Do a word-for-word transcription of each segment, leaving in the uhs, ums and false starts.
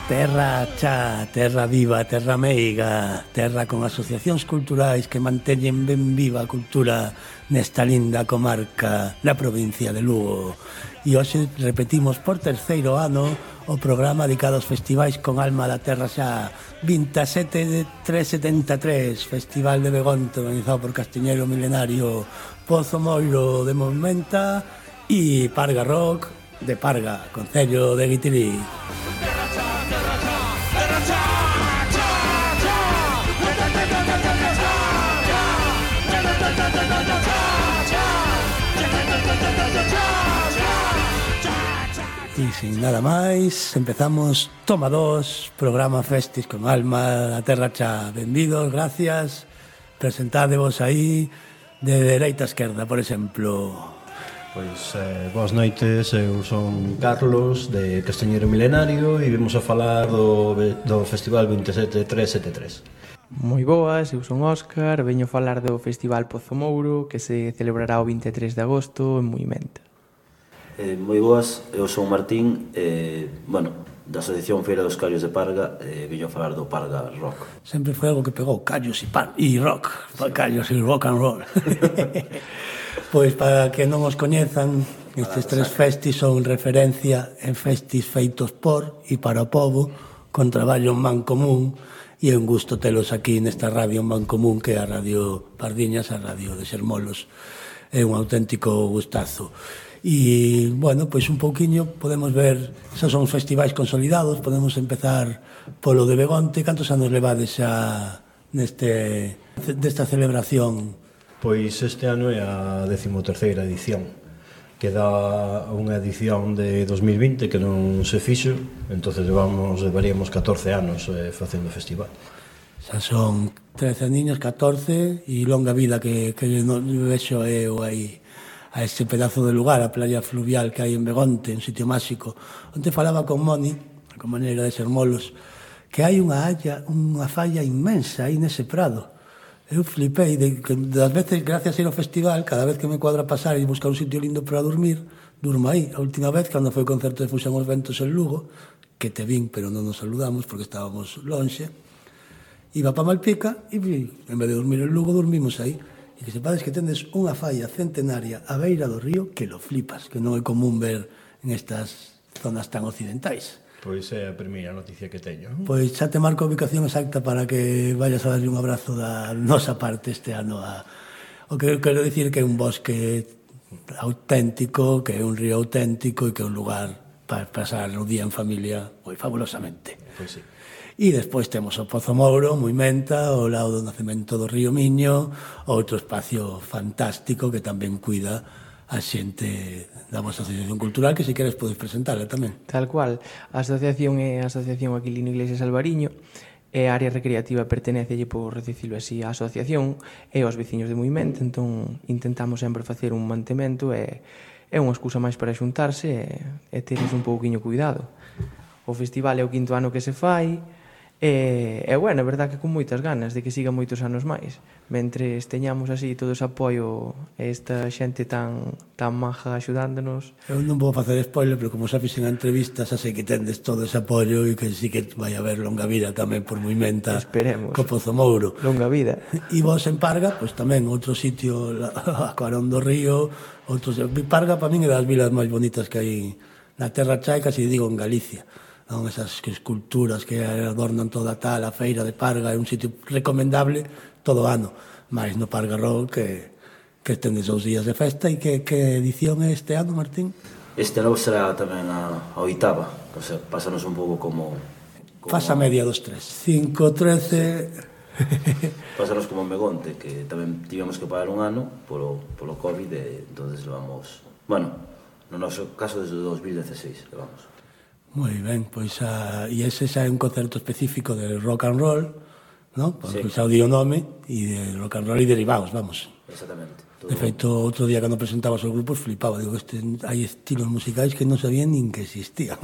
Terra cha, terra viva, terra meiga, terra con asociacións culturais que manteñen ben viva a cultura nesta linda comarca da provincia de Lugo. E hoxe repetimos por terceiro ano o programa dedicado aos festivais con alma da terra xa vinte e sete de trescentos e setenta e tres, Festival de Begonte organizado por Castiñeiro Milenario, Pozo Mouro de Movimenta e Parga Rock de Parga, Concello de Guitirí. E sin nada máis, empezamos Toma dos, programa Festis con alma da terra cha. Benvidos, gracias. Presentádevos aí de dereita a esquerda, por exemplo. Pois, eh, boas noites, eu son Carlos de Castiñeiro Milenario e vimos a falar do, do Festival vinte e sete trescentos e setenta e tres. Moi boas, eu son Óscar, veño falar do Festival Pozo Mouro que se celebrará o vinte e tres de agosto en Movimenta. Eh, moi boas, eu son Martín, eh, bueno, da Asociación Feira dos Callos de Parga, eh, veño a falar do Parga Rock. Sempre foi algo que pegou, callos e, par, e rock, sí. Callos e rock and roll. Pois para que non os coñezan, estes tres festis son referencia en festis feitos por e para o povo, con traballo en man común, e é un gusto telos aquí nesta radio en man común, que é a Radio Pardiñas, a radio de Xermolos. É un auténtico gustazo. E, bueno, pois un pouquiño podemos ver, esos son os festivais consolidados, podemos empezar polo de Begonte. Cantos anos levades xa neste, desta celebración? Pois este ano é a decimoterceira edición. Queda unha edición de dos mil vinte que non se fixo, entonces levamos, levaríamos catorce anos eh, facendo festival. Xa son trece niños, catorce, e longa vida que, que non vexo eu aí a ese pedazo de lugar, a playa fluvial que hai en Begonte, un sitio máxico. Onte falaba con Moni, a compañeira de Xermolos, que hai unha halla, unha falla inmensa aí nese prado. Eu flipei de que das veces, gracias a ir ao festival, cada vez que me cuadra pasar e buscar un sitio lindo para dormir, durmo aí. A última vez, cando foi o concerto de Fuxan os Ventos en Lugo, que te vin, pero non nos saludamos porque estábamos lonxe, iba pa Malpica e en vez de dormir en Lugo, dormimos aí. E que sepades que tendes unha falla centenaria a beira do río que lo flipas, que non é común ver en estas zonas tan occidentais. Pois é a primeira noticia que teño. Pois xa te marco a ubicación exacta para que vayas a darle un abrazo da nosa parte este ano. A... O que quero dicir que é un bosque auténtico, que é un río auténtico e que é un lugar para pasar o día en familia moi fabulosamente. Pois sí. E despois temos o Pozo Mouro, Movimenta, ao lado do nacemento do río Miño, outro espacio fantástico que tamén cuida a xente da vosa asociación cultural, que se queres podes presentarla tamén. Tal cual, a asociación é a Asociación Aquilino Iglesias Alvariño, e a área recreativa pertenecelle, por dicilo así, á asociación e aos veciños de Movimenta, entón intentamos sempre facer un mantemento e é unha excusa máis para xuntarse e, e teres un pouquiño cuidado. O festival é o quinto ano que se fai, E, e bueno, é verdad que con moitas ganas de que siga moitos anos máis, mentres teñamos así todo ese apoio e esta xente tan tan maja axudándonos. Eu non vou facer spoiler, pero como xa fixen a entrevista, xa sei que tendes todo ese apoio e que sí que vai haber longa vida tamén por Movimenta. Esperemos. Co Pozo Mouro. Longa vida. E vos en Parga, pois tamén outro sitio a Carón do Río, outros... Parga para min é das vilas máis bonitas que hai na Terra Cha, casi digo en Galicia. Non, esas esculturas que adornan toda a tal, a feira de Parga, é un sitio recomendable todo o ano, máis no Parga Rock que, que tendes dous días de festa. E que, que edición é este ano, Martín? Este ano será tamén a, a oitava, o sea, pásanos un pouco como Faz a media dos tres. cinco, trece... Pásanos como en Begonte, que tamén tivemos que pagar un ano polo, polo COVID, e entonces levamos, bueno, no noso caso desde dos mil dieciséis levamos. Moi ben, pois a, e ese xa é un concerto específico de rock and roll, ¿no? Porque sí. Xa o di o nome, e de rock and roll e derivados, vamos. Exactamente. Todo... De feito, outro día cando presentabas os grupos flipaba, digo, este, hai estilos musicais que non sabían nin que existían.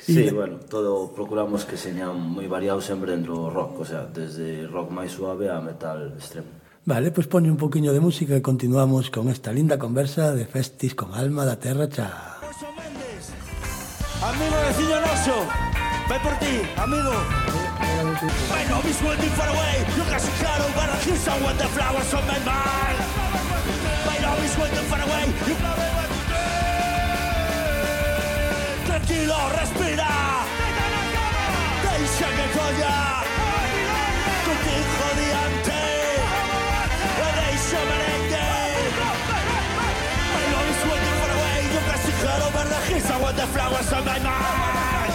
Sí, bueno, todo procuramos que señan moi variados sempre dentro do rock, o sea, desde rock máis suave a metal extremo. Vale, pois poñe un poquinho de música e continuamos con esta linda conversa de Festis con Alma da Terra Cha. Amigo vecino noso, vai por ti, amigo. My love is waiting far away. You got some shadow, but I kiss on when the flowers on my mind. My love is waiting far away. You tranquilo, respira. Deixa que colla contigo diante. Deixa merengue. My love is waiting far away. You got some shadow, but I kiss on when the flowers on my mind.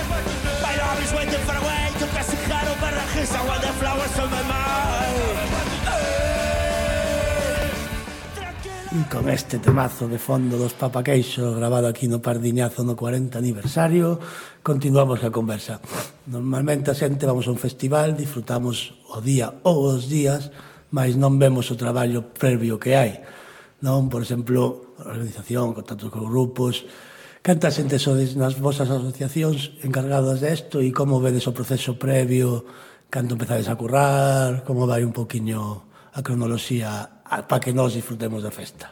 My love is waiting far away. You got some shadow, but I kiss on when the flowers on my mind. E con este temazo de fondo dos Papaqueixo grabado aquí no Pardiñazo no cuarenta aniversario, continuamos a conversa. Normalmente a xente vamos a un festival, disfrutamos o día ou os días, mas non vemos o traballo previo que hai. Non, por exemplo, a organización, contactos con grupos. Canta xente sodes nas vosas asociacións encargadas desto e como vedes o proceso previo, cando empezades a currar, como vai un poquinho a cronoloxía para que nós disfrutemos da festa?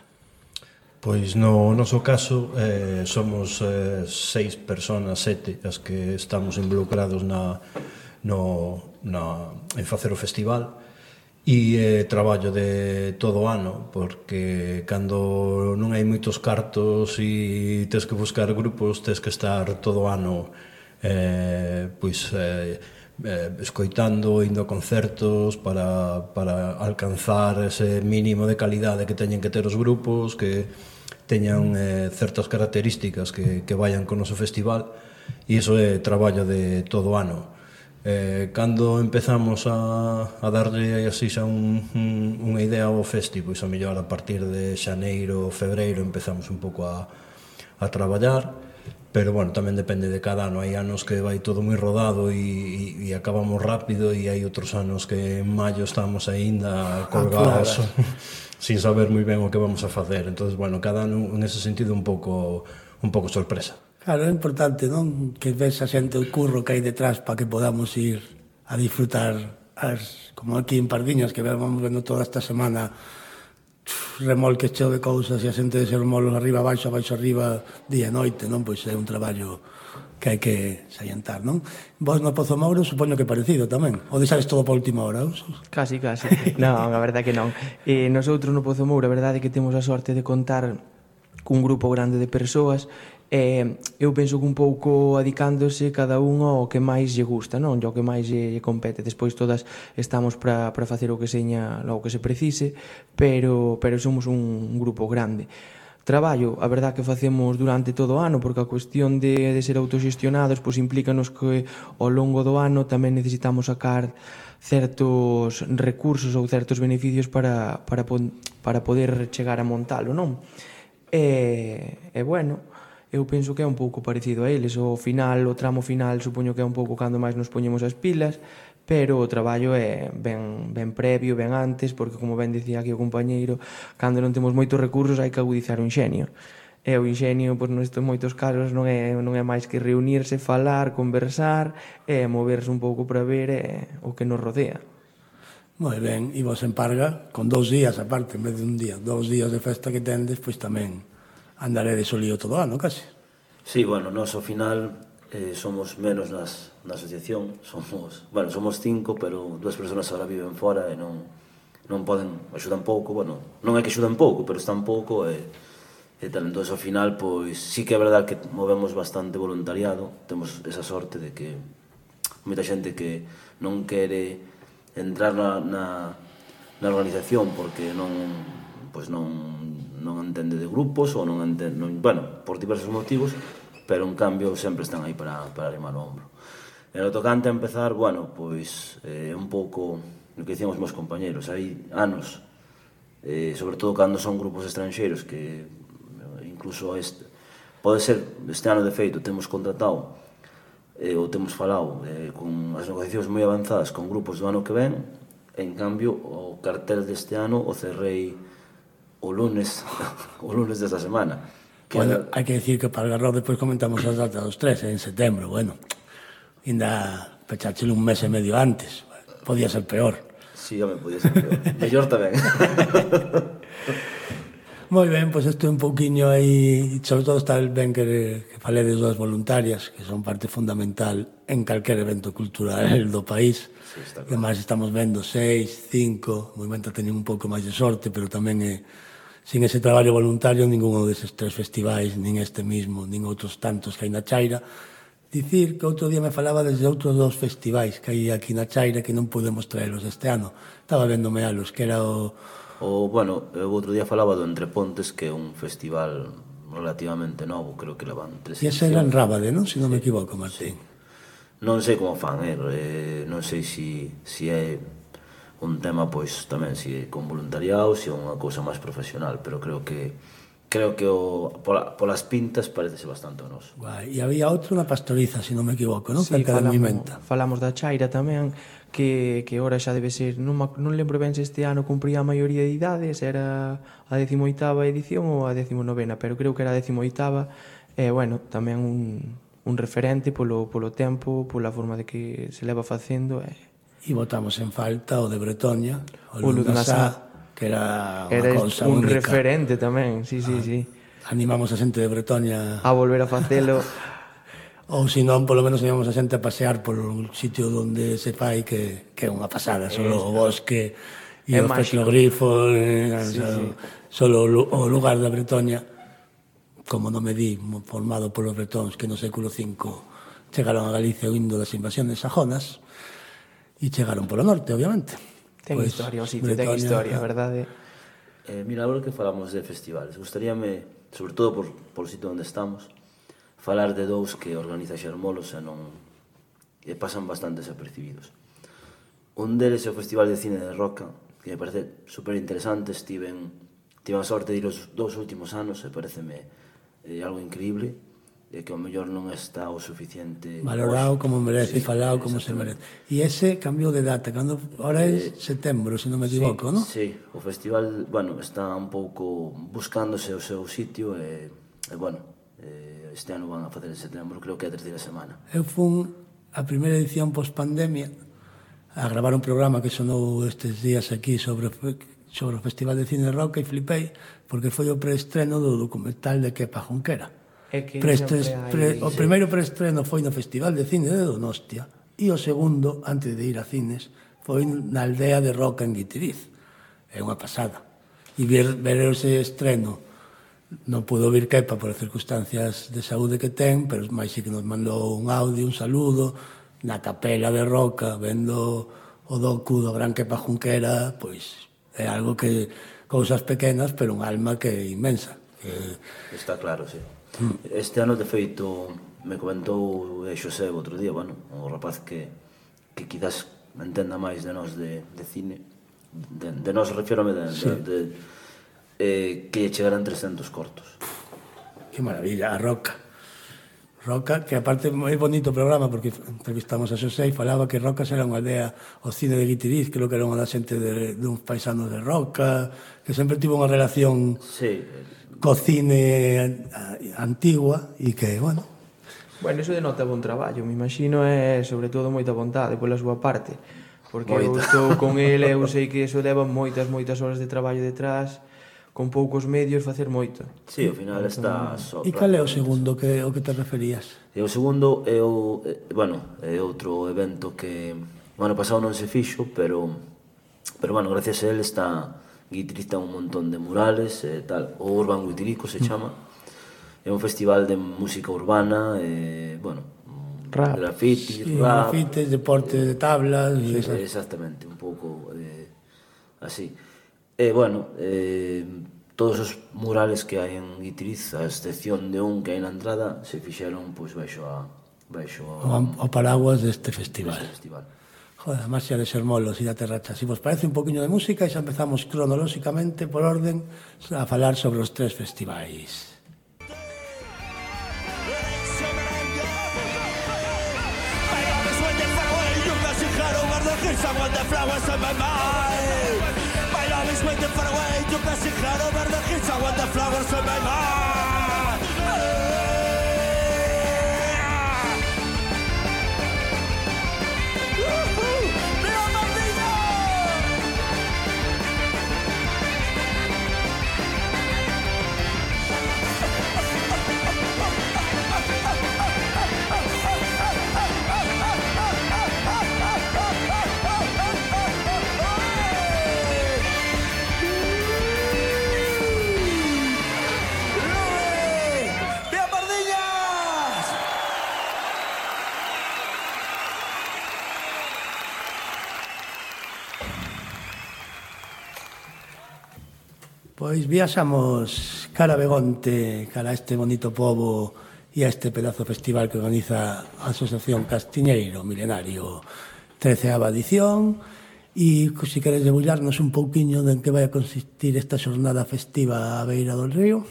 Pois no noso caso eh, somos eh, seis personas, sete, as que estamos involucrados na, no, na, en facer o festival, e eh, traballo de todo o ano, porque cando non hai moitos cartos e tes que buscar grupos, tes que estar todo o ano eh, pois eh, eh, escoitando, indo a concertos para, para alcanzar ese mínimo de calidade que teñen que ter os grupos, que teñan eh, certas características que, que vayan con o noso festival, e iso é traballo de todo o ano. Eh, cando empezamos a, a darlle así xa un, un, unha idea ao festi, pois a mellor a partir de xaneiro, febreiro empezamos un pouco a, a traballar, pero bueno, tamén depende de cada ano. Hai anos que vai todo moi rodado e, e, e acabamos rápido, e hai outros anos que en maio estamos aínda colgados sin saber moi ben o que vamos a facer. Entón, bueno, cada ano en ese sentido un pouco un pouco sorpresa. Claro, é importante, non? Que ves a xente o curro que hai detrás para que podamos ir a disfrutar as, como aquí en Pardiñas, que vamos vendo toda esta semana remolques cheo de cousas e a xente de remolques arriba, abaixo, abaixo, arriba, día e noite, non? Pois é un traballo que hai que salientar, non? Vos no Pozo Mouro supoño que parecido tamén, ou deixades todo para última hora? Casi, casi, non, a verdade que non. E nosotros no Pozo Mouro, a verdade é que temos a sorte de contar cun grupo grande de persoas. Eh, eu penso que un pouco adicándose cada un ao que máis lle gusta, non? O que máis lle, lle compete. Despois todas estamos para para facer o que seña, o que se precise, pero pero somos un grupo grande. Traballo, a verdad que facemos durante todo o ano, porque a cuestión de, de ser autoxestionados pois implícanos que ao longo do ano tamén necesitamos sacar certos recursos ou certos beneficios para, para, para poder chegar a montalo, non? E, e bueno, eu penso que é un pouco parecido a eles. O final, o tramo final, supoño que é un pouco cando máis nos poñemos as pilas, pero o traballo é ben, ben previo, ben antes, porque, como ben dicía aquí o compañeiro, cando non temos moitos recursos hai que agudizar o inxenio. E o inxenio, pois, nestes moitos casos, non é, non é máis que reunirse, falar, conversar, e moverse un pouco para ver eh, o que nos rodea. Moi ben, e vos en Parga, con dous días aparte, en vez de un día, dous días de festa que tendes, pois tamén andaré de solío todo o ano, casi. Sí, bueno, nós ao final eh, somos menos nas, na asociación, somos, bueno, somos cinco, pero dúas persoas agora viven fora e non, non poden, axudan pouco, bueno, non é que axudan pouco, pero están pouco e, e tal, entón ao final, pois, sí que é verdade que movemos bastante voluntariado, temos esa sorte de que moita xente que non quere entrar na, na, na organización porque non, pois non, non entende de grupos ou non entende, non, bueno, por diversos motivos, pero en cambio sempre están aí para, para arrimar o ombro. E no tocante a empezar, bueno, pois eh, un pouco o que dicían os meus compañeros, hai anos, eh, sobre todo cando son grupos estranxeiros que incluso este, pode ser este ano de feito temos contratado eh, ou temos falado eh, con as negociacións moi avanzadas con grupos do ano que ven, en cambio o cartel deste ano o cerrei o lunes o lunes desta semana. Que Bueno, hai que decir que para Algarroz depois comentamos as datas dos tres, en setembro, bueno, ainda pecháchelo un mes e medio antes, podía ser peor. Sí, home, podía ser peor. Mellor tamén. Moi ben, pois isto é un pouquiño aí, sobre todo está ben que, que faledes das voluntarias, que son parte fundamental en calquer evento cultural do país. Sí, está claro. E máis estamos vendo seis, cinco, o movimento teñen un pouco máis de sorte, pero tamén é, sin ese traballo voluntario, ninguno deses tres festivais, nin este mismo, nin outros tantos que hai na Chaira. Dicir que outro día me falaba desde outros dos festivais que hai aquí na Chaira que non podemos traelos este ano. Estaba vendome alos, que era o... O, bueno, eu outro día falaba do Entre Pontes, que é un festival relativamente novo, creo que levan tres E ese era en Rábade, non? Se non me equivoco, Martín. Non sei como fan, eh? non sei se si, si é un tema, pois, tamén, se si con voluntariado, se si é unha cousa máis profesional, pero creo que creo que o, pola, polas pintas parecese bastante o noso. Guai. E había outro na Pastoriza, se non me equivoco, non? Sí, Cerca de falamos, Moimenta. falamos da Chaira tamén, que, que ora xa debe ser, non, non lembro ben se este ano cumpría a maioría de idades, era a decimoitava edición ou a decimonovena, pero creo que era a decimoitava, e, bueno, tamén un, un referente polo, polo tempo, pola forma de que se leva facendo, e... E botamos en falta o de Bretoña, o O Lunasá, que era unha era cousa un única. referente tamén, sí, sí, sí. Animamos a xente de Bretoña, A volver a facelo. ou se non, polo menos animamos a xente a pasear por un sitio onde se fai que, que é unha pasada, solo o bosque e É os máxico. petroglifos, eh, Sí, o sea, sí. solo o lu- o lugar da Bretoña, como non me di, formado polos bretóns que no século cinco chegaron a Galicia indo das invasiones sajonas e chegaron polo norte, obviamente. Ten Pois, historia, o sitio, ten Bretoña- historia, verdade? Eh, mira, agora que falamos de festivales, gustaríame, sobre todo por, por o sitio onde estamos, falar de dous que organiza Xermolos e non e pasan bastante desapercibidos. Un deles é o Festival de Cine de Roca, que me parece super interesante, estiven, tive a sorte de ir os dous últimos anos e pareceme eh, algo increíble, e que ao mellor non está o suficiente valorado como merece, Sí, falado como se merece. E ese cambiou de data, cando ahora é setembro, se non me equivoco, non? Sí, o festival, bueno, está un pouco buscándose o seu sitio e, e bueno, eh, este ano van a facer en setembro, creo que é a terceira semana. Eu fun a primeira edición post-pandemia a gravar un programa que sonou estes días aquí sobre, sobre o Festival de Cine de Roca e flipei porque foi o preestreno do documental de Kepa Junquera. É que Preestres, sempre hai- pre, o primeiro preestreno foi no Festival de Cine de Donostia e o segundo, antes de ir a cines, foi na aldea de Roca en Guitiriz. É unha pasada. E ver, ver ese estreno non pudo vir Kepa por as circunstancias de saúde que ten, pero máis sí que nos mandou un audio, un saludo na capela de Roca, vendo o docu do gran Kepa Junquera, pois é algo que cousas pequenas, pero un alma que é inmensa. Que, Está claro, sí. Este ano, de feito, me comentou eh, Xosé outro día, bueno, o rapaz que, que quizás entenda máis de nós de, de cine, de, de nós refiérome de, Sí. de, de eh, que chegaran trescentos cortos. que maravilla, a Roca. Roca, que aparte é moi bonito o programa porque entrevistamos a Xosé e falaba que Roca era unha aldea, o cine de Guitiriz, creo que era unha da xente de, de uns paisanos de Roca, que sempre tivo unha relación Sí, co cine antigua e que, bueno, Bueno, iso denota bon traballo, me imagino, é sobre todo moita vontade pola súa parte, porque eu Moita. estou con ele, eu sei que iso leva moitas, moitas horas de traballo detrás, con poucos medios facer moito. sí, ao final está só. e cal é o segundo que o que te referías? E o segundo é o, eh, bueno, é outro evento que o ano pasado non se fixo, pero pero bueno, gracias a él está Guitiriz ten un montón de murales e tal, o Urban Guitirico se chama. É un festival de música urbana, e, bueno, Rap. graffiti, Sí, rap, grafites, deporte de tablas e Sí, esas. exactamente, un pouco eh, así. E, bueno, eh, todos os murales que hai en Guitiriz, a excepción de un que hai na entrada, se fixeron, pois, baixo a... baixo a... O, o paraguas deste festival. Deste festival. Joder, a marcha de Sermolos e da Terracha. Si vos parece un poquinho de música, e xa empezamos cronolóxicamente, por orden, a falar sobre os tres festivais. I want the flowers on my mind. My love is waiting for a way to pass it cloud over the hills. I want the flowers on my mind. ¡Viva Martínez! Pois viaxamos cara a Begonte, cara a este bonito pobo e a este pedazo festival que organiza a Asociación Castiñeiro Milenario, treceava edición, e se queres debullarnos un pouquiño de en que vai a consistir esta xornada festiva a beira do río.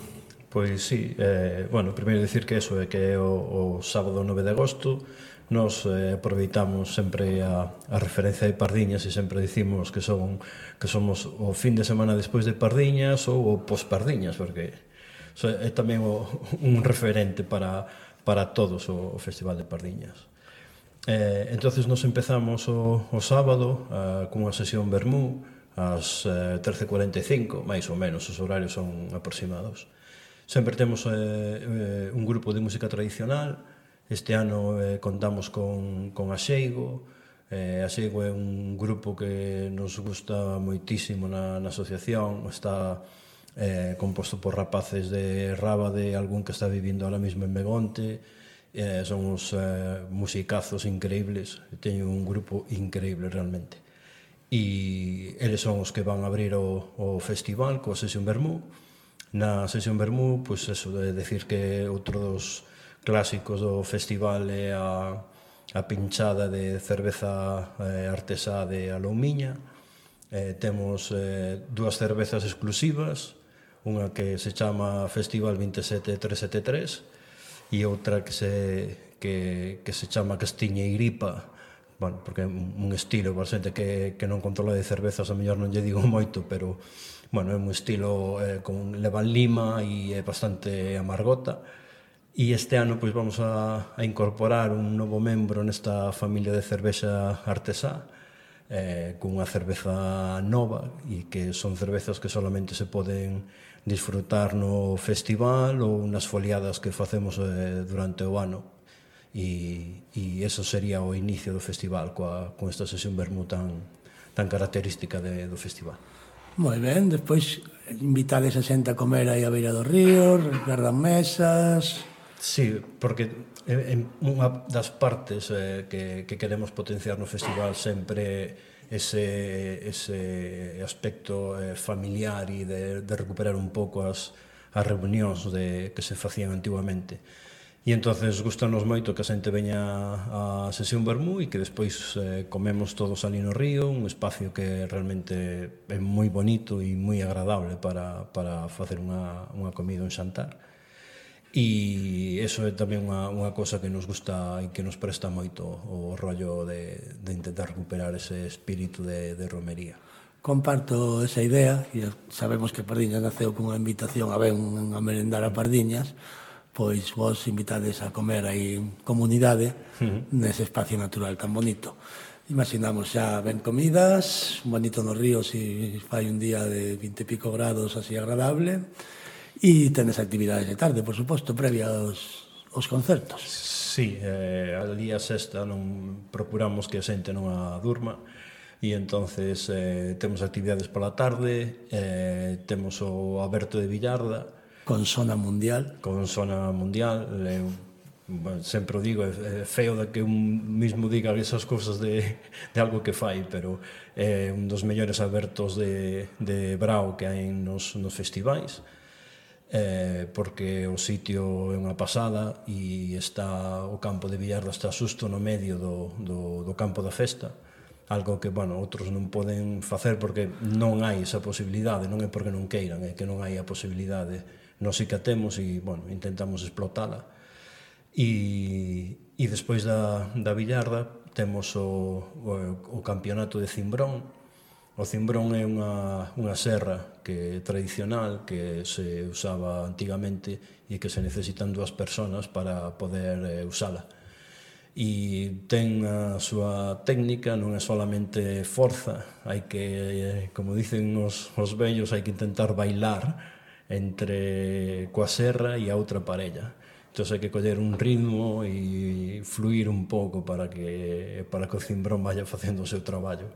Pois sí, eh, bueno, primeiro dicir que eso é que é o, o sábado nove de agosto. Nos eh, aproveitamos sempre a, a referencia de Pardiñas e sempre dicimos que son que somos o fin de semana despois de Pardiñas ou o pos-Pardiñas, porque so, é tamén o, un referente para, para todos o, o Festival de Pardiñas. Eh, entonces nos empezamos o, o sábado eh, cunha sesión vermú ás eh, trece cuarenta e cinco, máis ou menos, os horarios son aproximados. Sempre temos eh, eh, un grupo de música tradicional. Este ano eh, contamos con, con Axeigo. Eh, Axeigo é un grupo que nos gusta moitísimo na, na asociación. Está eh, composto por rapaces de Rábade, algún que está vivindo ahora mismo en Begonte. Eh, son uns eh, musicazos increíbles. Teño un grupo increíble realmente. E eles son os que van a abrir o, o festival coa sesión vermú. Na sesión vermú, pois eso de decir que outro dos clásicos do festival é a, a pinchada de cerveza eh, artesá de Aloumiña. Eh, temos eh, dúas cervezas exclusivas, unha que se chama Festival vinte e sete trescentos setenta e tres e outra que se, que, que se chama Castiñeiripa, bueno, porque é un estilo, para xente que, que non controla de cervezas, a mellor non lle digo moito, pero bueno, é un estilo eh, con levan lima e é bastante amargota. E este ano pois vamos a, a incorporar un novo membro nesta familia de cervexa artesá, eh, cunha cerveza nova, e que son cervezas que solamente se poden disfrutar no festival ou nas foliadas que facemos eh, durante o ano. E, e eso sería o inicio do festival coa, con esta sesión vermú tan, tan característica de, do festival. Moi ben, despois invitades a xente a comer aí a beira do río, guardan mesas. Sí, porque en unha das partes eh, que, que queremos potenciar no festival sempre ese, ese aspecto eh, familiar e de, de recuperar un pouco as, as reunións de, que se facían antiguamente. E entonces gustanos moito que a xente veña a sesión vermú e que despois eh, comemos todos ali no río, un espacio que realmente é moi bonito e moi agradable para, para facer unha, unha comida, un xantar. E iso é tamén unha, unha cosa que nos gusta e que nos presta moito o rollo de, de intentar recuperar ese espírito de, de romería. Comparto esa idea, e sabemos que Pardiñas naceu cunha invitación a ben a merendar a Pardiñas, pois vos invitades a comer aí en comunidade uh-huh. nese espacio natural tan bonito. Imaginamos xa ben comidas, un bonito no río se fai un día de vinte e pico grados así agradable. E tenes actividades de tarde, por suposto, previa aos, aos concertos. Sí, eh, ali a sexta non procuramos que a xente non a durma e entonces eh, temos actividades pola tarde, eh, temos o aberto de Villarda con zona mundial con zona mundial, eh, bueno, sempre o digo, é feo de que un mismo diga esas cousas de, de algo que fai, pero é un dos mellores abertos de, de Brao que hai nos, nos festivais, eh, porque o sitio é unha pasada e está o campo de Villarda está xusto no medio do, do, do campo da festa, algo que, bueno, outros non poden facer porque non hai esa posibilidade, non é porque non queiran, é que non hai a posibilidade. Nós sí que a temos e, bueno, intentamos explotala. E, e despois da, da Villarda temos o, o, o campeonato de Cimbrón. O Cimbrón é unha, unha serra que tradicional que se usaba antigamente e que se necesitan dúas personas para poder eh, usala. E ten a súa técnica, non é solamente forza, hai que, eh, como dicen os, os vellos, hai que intentar bailar entre coa serra e a outra parella. Entón hai que coller un ritmo e fluir un pouco para que, para que o Cimbrón vaya facendo o seu traballo.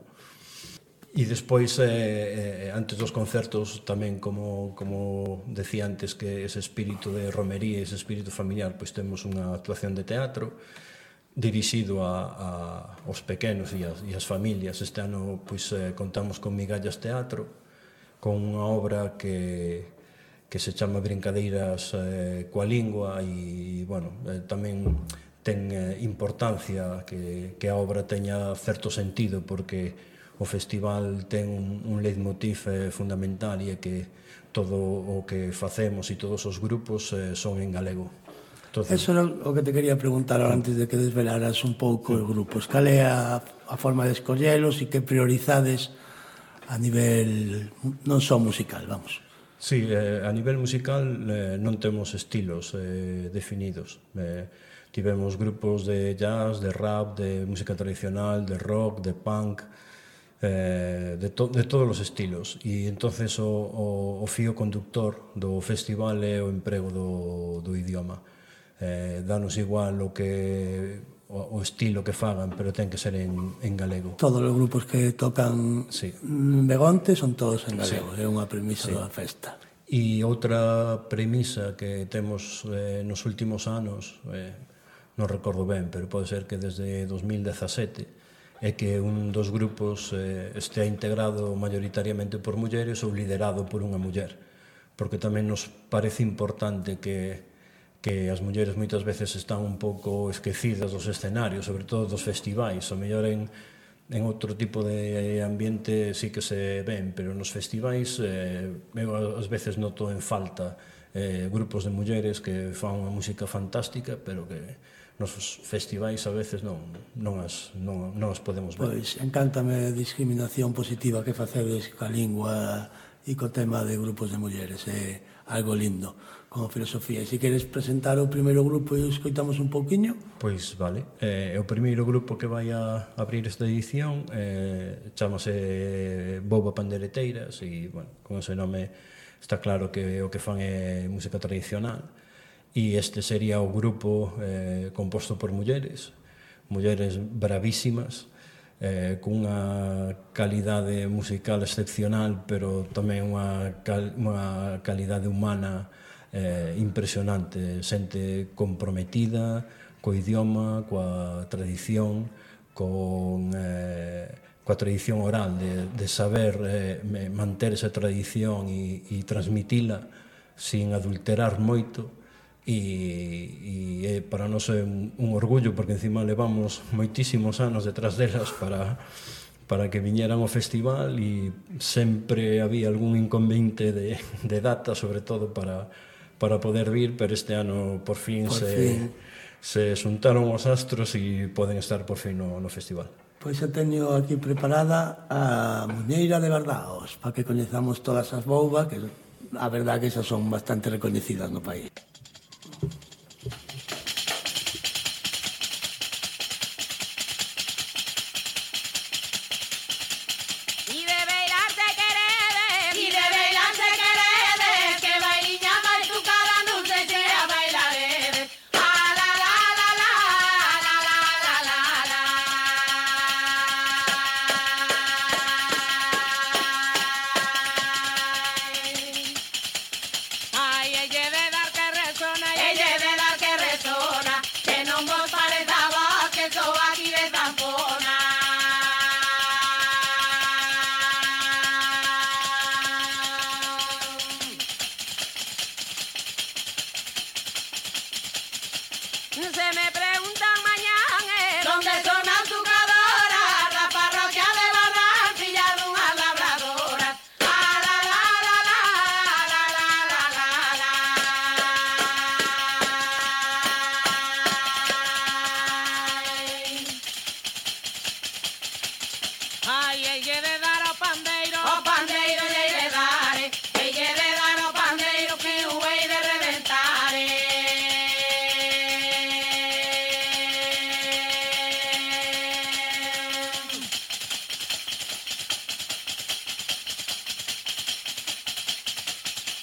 E despois, eh, antes dos concertos, tamén, como, como decía antes, que ese espírito de romería, ese espírito familiar, pois temos unha actuación de teatro dirixido a, a, aos pequenos e as, e as familias. Este ano pois, eh, contamos con Migallas Teatro, con unha obra que, que se chama Brincadeiras eh, coa lingua e, bueno, eh, tamén ten eh, importancia que, que a obra teña certo sentido, porque o festival ten un, un leitmotiv eh, fundamental e é que todo o que facemos e todos os grupos eh, son en galego. Entonces, eso era o que te quería preguntar ahora antes de que desvelaras un pouco os grupos. Cal é a, a forma de escollelos e que priorizades a nivel non só musical, vamos? Sí, eh, a nivel musical eh, non temos estilos eh, definidos. Eh, tivemos grupos de jazz, de rap, de música tradicional, de rock, de punk, eh, de, to, de todos os estilos. E entonces o, o, o fío conductor do festival é o emprego do, do idioma. Eh, danos igual o que o, o estilo que fagan, pero ten que ser en, en galego. Todos os grupos que tocan sí. en Begonte son todos en galego, sí. É unha premisa sí. da festa. E outra premisa que temos eh, nos últimos anos, eh, non recordo ben, pero pode ser que desde dos mil dezasete, é que un dos grupos eh, estea integrado maioritariamente por mulleres ou liderado por unha muller, porque tamén nos parece importante que, que as mulleres moitas veces están un pouco esquecidas dos escenarios, sobre todo dos festivais. O mellor en, en outro tipo de ambiente sí que se ven, pero nos festivais eh, eu ás veces noto en falta eh, grupos de mulleres que fan unha música fantástica, pero que nos festivais a veces non, non, as, non, non as podemos ver. Pois, encántame a discriminación positiva que facedes ca lingua e co tema de grupos de mulleres. É algo lindo, como filosofía. E se queres presentar o primeiro grupo e escoitamos un pouquiño? Pois, vale. Eh, o primeiro grupo que vai a abrir esta edición eh, chamase Boba Pandereteiras e, bueno, con ese nome está claro que o que fan é música tradicional. E este sería o grupo eh, composto por mulleres, mulleres bravísimas, eh, cunha calidade musical excepcional, pero tamén unha, cal, unha calidade humana eh, impresionante, xente comprometida co idioma, coa tradición, con, eh, coa tradición oral, de, de saber eh, manter esa tradición e, e transmitila sin adulterar moito. E, e para nós é un, un orgullo, porque encima levamos moitísimos anos detrás delas para, para que viñeran ao festival e sempre había algún inconveniente de, de data, sobre todo para, para poder vir, pero este ano por fin, por se, fin. se xuntaron os astros e poden estar por fin no, no festival. Pois xa teño aquí preparada a Muñeira de Bardaos, para que coñezamos todas as boubas, que a verdade que esas son bastante recoñecidas no país. Ay, ella de dar que Ai, e lle de dar ao pandeiro, ao pandeiro lle de dar, e lle de dar ao pandeiro que o hei de reventar.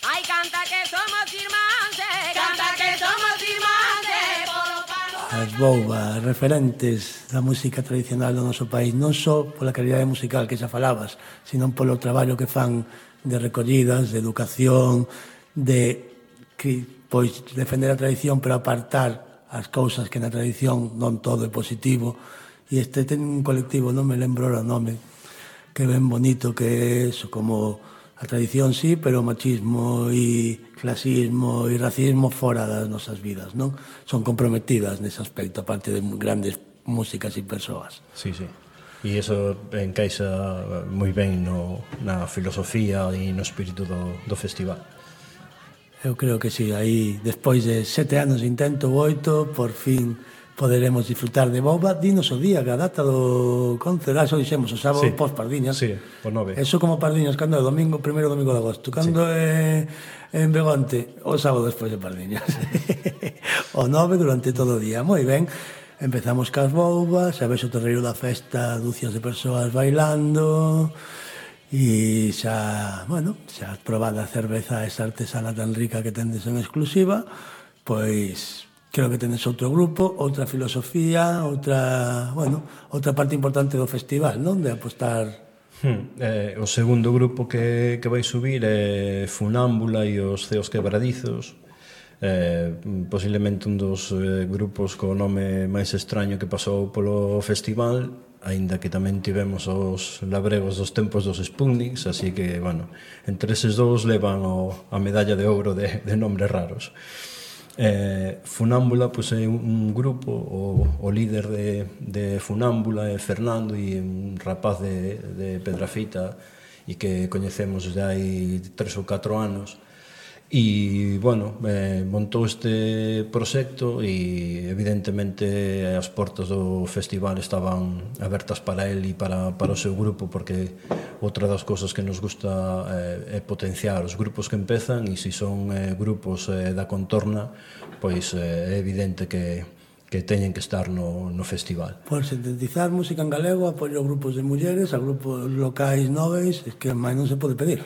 Ai, canta que somos irmáns, canta que somos irmáns, polo pano. As boubas referentes da música tradicional do noso país, non só pola calidade musical que xa falabas, sino polo traballo que fan de recollidas, de educación, de que, pois, defender a tradición pero apartar as cousas que na tradición non todo é positivo. E este ten un colectivo, non me lembro o nome, que é ben bonito, que é eso, como a tradición sí, pero o machismo e clasismo e racismo fora das nosas vidas, non? Son comprometidas nese aspecto, aparte de grandes músicas e persoas. Sí, sí. E iso encaixa moi ben no, na filosofía e no espírito do, do festival. Eu creo que sí, aí, despois de sete anos de intento, oito, por fin poderemos disfrutar de boba. Dinos o día, que a data do concerto, ah, xo dixemos, o sábado Sí. pos Pardiñas. Sí, o nove. Eso como Pardiñas, cando é o domingo, primeiro domingo de agosto. Cando é en Begonte, o sábado despois de Pardiñas. O nove durante todo o día. Moi ben, empezamos cas boubas, xa ves o terreiro da festa, dúcias de persoas bailando, e xa, bueno, xa probada a cerveza esa artesana tan rica que tendes en exclusiva, pois creo que tenes outro grupo, outra filosofía, outra, bueno, outra parte importante do festival, non? De apostar. Hmm. Eh, o segundo grupo que, que vai subir é Funámbula e os Ceos Quebradizos. Eh, posiblemente un dos eh, grupos co nome máis extraño que pasou polo festival, aínda que tamén tivemos os labregos dos tempos dos Sputniks, así que, bueno, entre eses dous levan o, a medalla de ouro de, de nombres raros. Eh, Funámbula, pois, é un, un grupo, o, o líder de, de Funámbula é Fernando, e un rapaz de, de Pedrafita e que coñecemos de hai tres ou catro anos. E, bueno, eh, montou este proxecto e, evidentemente, as portas do festival estaban abertas para el e para, para o seu grupo, porque outra das cousas que nos gusta eh, é potenciar os grupos que empezan, e se son eh, grupos eh, da contorna, pois eh, é evidente que, que teñen que estar no, no festival. Por sintetizar música en galego, apoio a grupos de mulleres, a grupos locais noves, es que máis non se pode pedir.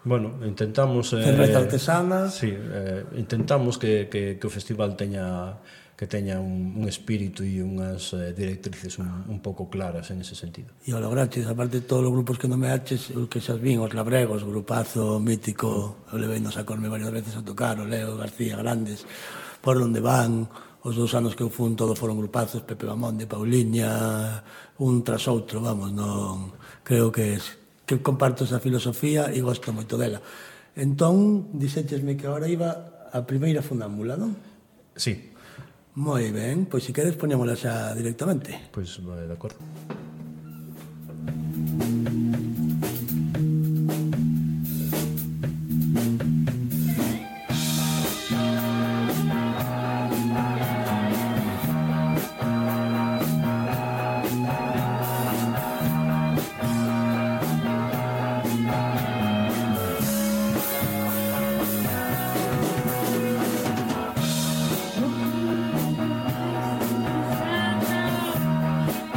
Bueno, intentamos... Eh, Cerveza artesana. Sí, eh, intentamos que, que, que o festival teña que teña un, un espírito e unhas eh, directrices un, un pouco claras en ese sentido. E o lograches, aparte de todos os grupos que non me haches, os que xa vin, os labregos, grupazo mítico, eu levei nos a Corme varias veces a tocar, o Leo García, grandes, por onde van, os dous anos que eu fun, todos foron grupazos, Pepe Bamonde, Pauliña, un tras outro, vamos, non, creo que es, que comparto esa filosofía e gosto moito dela. Entón, dixéchesme que agora iba a primeira Funámbula, non? Sí. Moi ben, pois se queres poñémola xa directamente. Pois, vale, de acordo.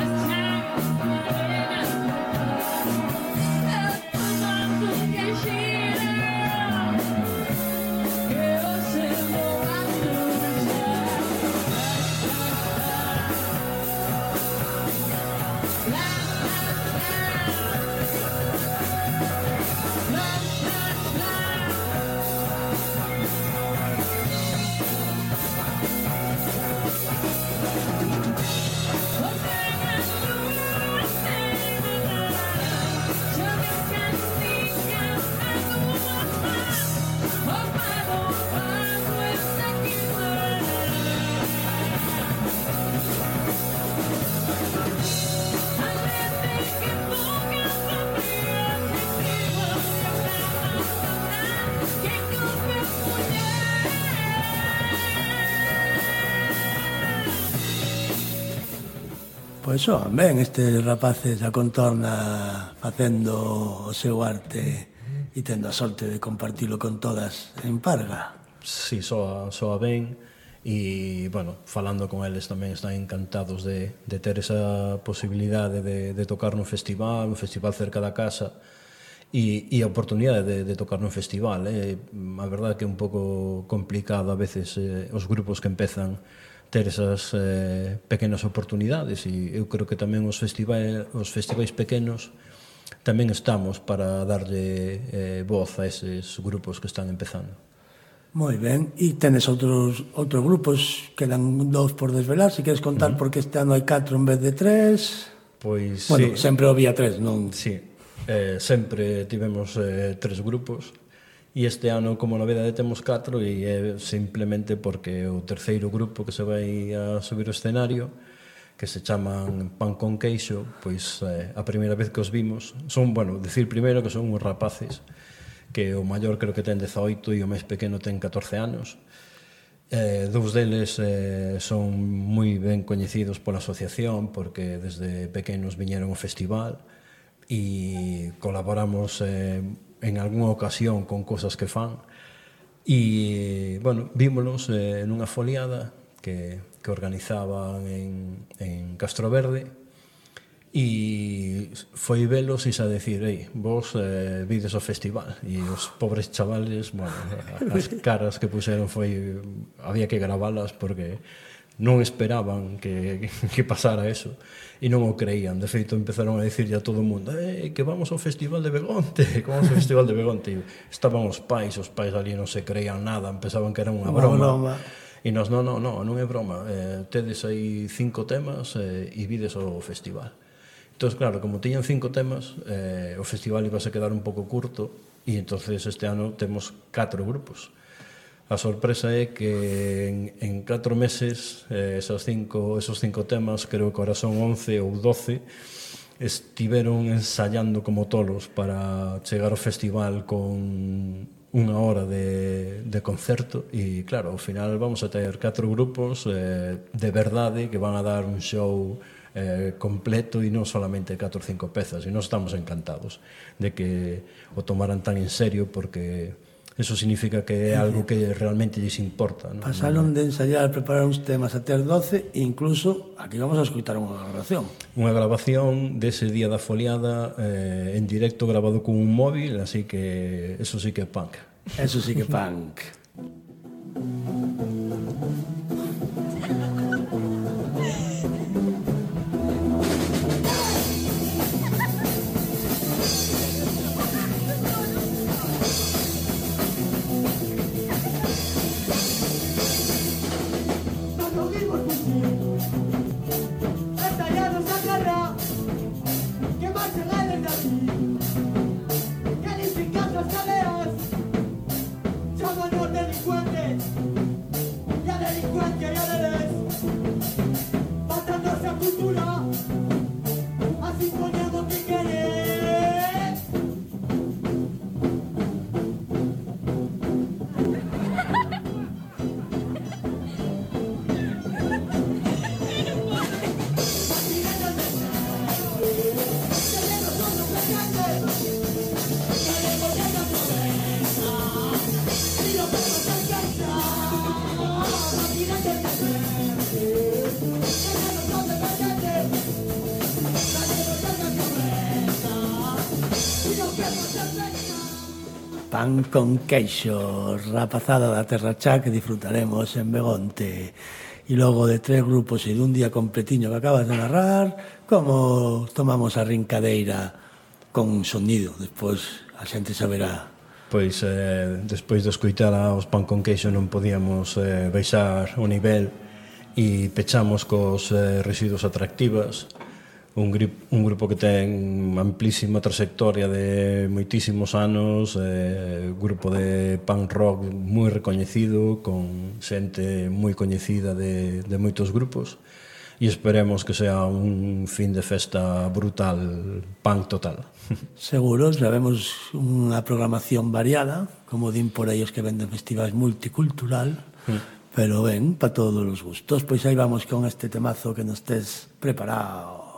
It's time Pois son, ben, estes rapaces a contorna facendo o seu arte e tendo a sorte de compartilo con todas en Parga. Sí, soa, soa ben e, bueno, falando con eles tamén están encantados de, de ter esa posibilidade de, de tocar nun festival, un festival cerca da casa e, e a oportunidade de, de tocar nun festival. Eh? A verdade que é un pouco complicado a veces eh, os grupos que empezan ter esas eh, pequenas oportunidades e eu creo que tamén os festivais, os festivais pequenos tamén estamos para darlle eh, voz a eses grupos que están empezando. Moi ben, e tenes outros outros grupos, quedan dous por desvelar, se queres contar uh -huh. porque este ano hai catro en vez de tres. Pois bueno, sí. sempre había tres, non? Sí, eh, sempre tivemos eh, tres grupos e este ano como novedade temos catro e é simplemente porque o terceiro grupo que se vai a subir o escenario, que se chaman Pan con Queixo, pois eh, a primeira vez que os vimos son, bueno, decir primeiro que son uns rapaces que o maior creo que ten dezaoito e o máis pequeno ten catorce anos. Eh, dous deles eh, son moi ben coñecidos pola asociación porque desde pequenos viñeron ao festival e colaboramos eh, en algunha ocasión con cosas que fan e, bueno, vímonos eh, nunha foliada que, que organizaban en, en Castro Verde e foi velos e xa decir, ei, vos eh, vides o festival e os pobres chavales, bueno, as caras que puseron foi, había que gravalas porque non esperaban que, que pasara eso e non o creían. De feito empezaron a dicirlle a todo o mundo, eh, que vamos ao festival de Begonte, que vamos ao festival de Begonte. E estaban os pais, os pais ali non se creían nada, empezaban que era unha broma, broma. E nos, non, non, non, non é broma, eh, tedes aí cinco temas eh, e vides o festival. Entón, claro, como tiñan cinco temas, eh, o festival iba a quedar un pouco curto e entonces este ano temos catro grupos. A sorpresa é que en, en catro meses eh, esos, cinco, esos cinco temas, creo que ahora son once ou doce, estiveron ensayando como tolos para chegar ao festival con unha hora de, de concerto e, claro, ao final vamos a ter catro grupos eh, de verdade que van a dar un show eh, completo e non solamente catro ou cinco pezas, e nós estamos encantados de que o tomaran tan en serio porque eso significa que é algo que realmente lles importa, ¿no? Pasaron de ensayar, preparar uns temas a ter doce e incluso aquí vamos a escutar unha grabación. Unha grabación dese día da foliada eh, en directo grabado con un móvil, así que eso sí que é punk. Eso sí que é punk. Pan con queixo, rapazada da Terra Chá que disfrutaremos en Begonte. E logo de tres grupos e dun día completiño que acabas de narrar, como tomamos a rincadeira con sonido, despois a xente saberá. Pois, eh, despois de escoitar aos Pan con queixo non podíamos eh, baixar o nivel e pechamos cos eh, Residuos Atractivas, un, grip, un grupo que ten amplísima trayectoria de moitísimos anos, eh, grupo de punk rock moi recoñecido, con xente moi coñecida de, de moitos grupos, e esperemos que sea un fin de festa brutal, punk total. Seguro, sabemos unha programación variada, como din por aí os que venden festivais multicultural, mm. pero ben, para todos os gustos. Pois aí vamos con este temazo que nos tes preparado.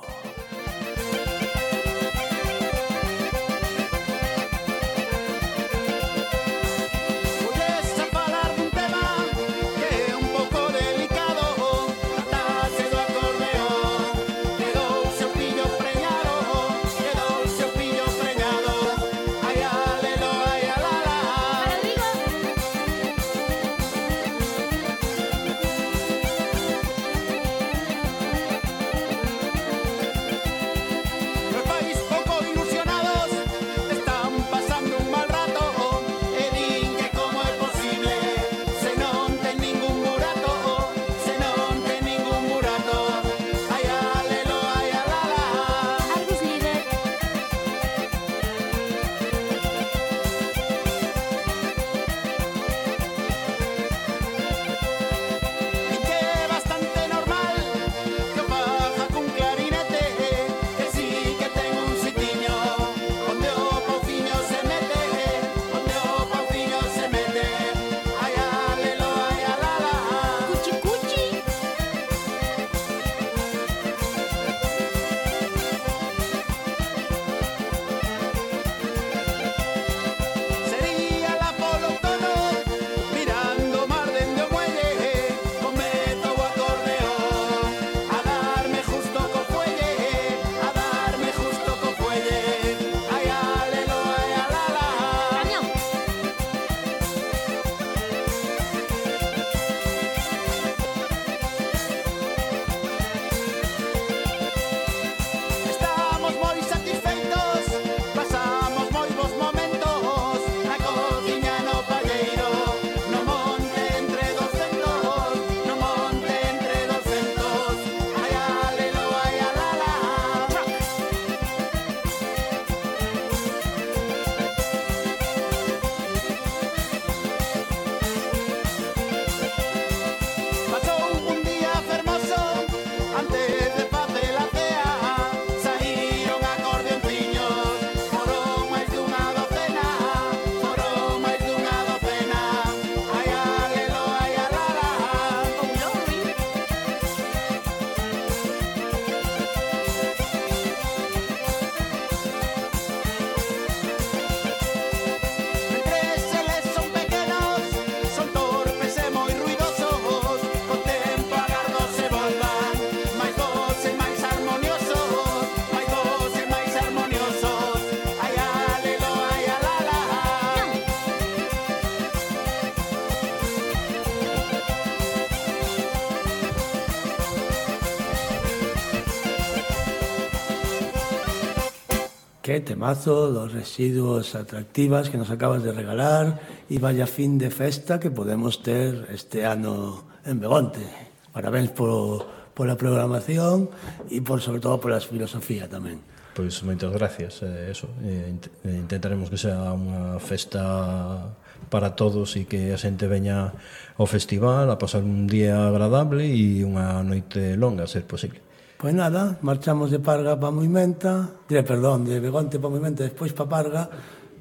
Qué temazo, los residuos atractivas que nos acabas de regalar y vaya fin de festa que podemos ter este ano en Begonte. Parabéns por, por a programación e por, sobre todo, por a filosofía tamén. Pois moitas gracias, eh, eso, eh, intentaremos que sea unha festa para todos e que a xente veña ao festival a pasar un día agradable e unha noite longa, a ser posible. Pois nada, marchamos de Parga para Moimenta, diré, perdón, de Begonte para Moimenta, despois para Parga,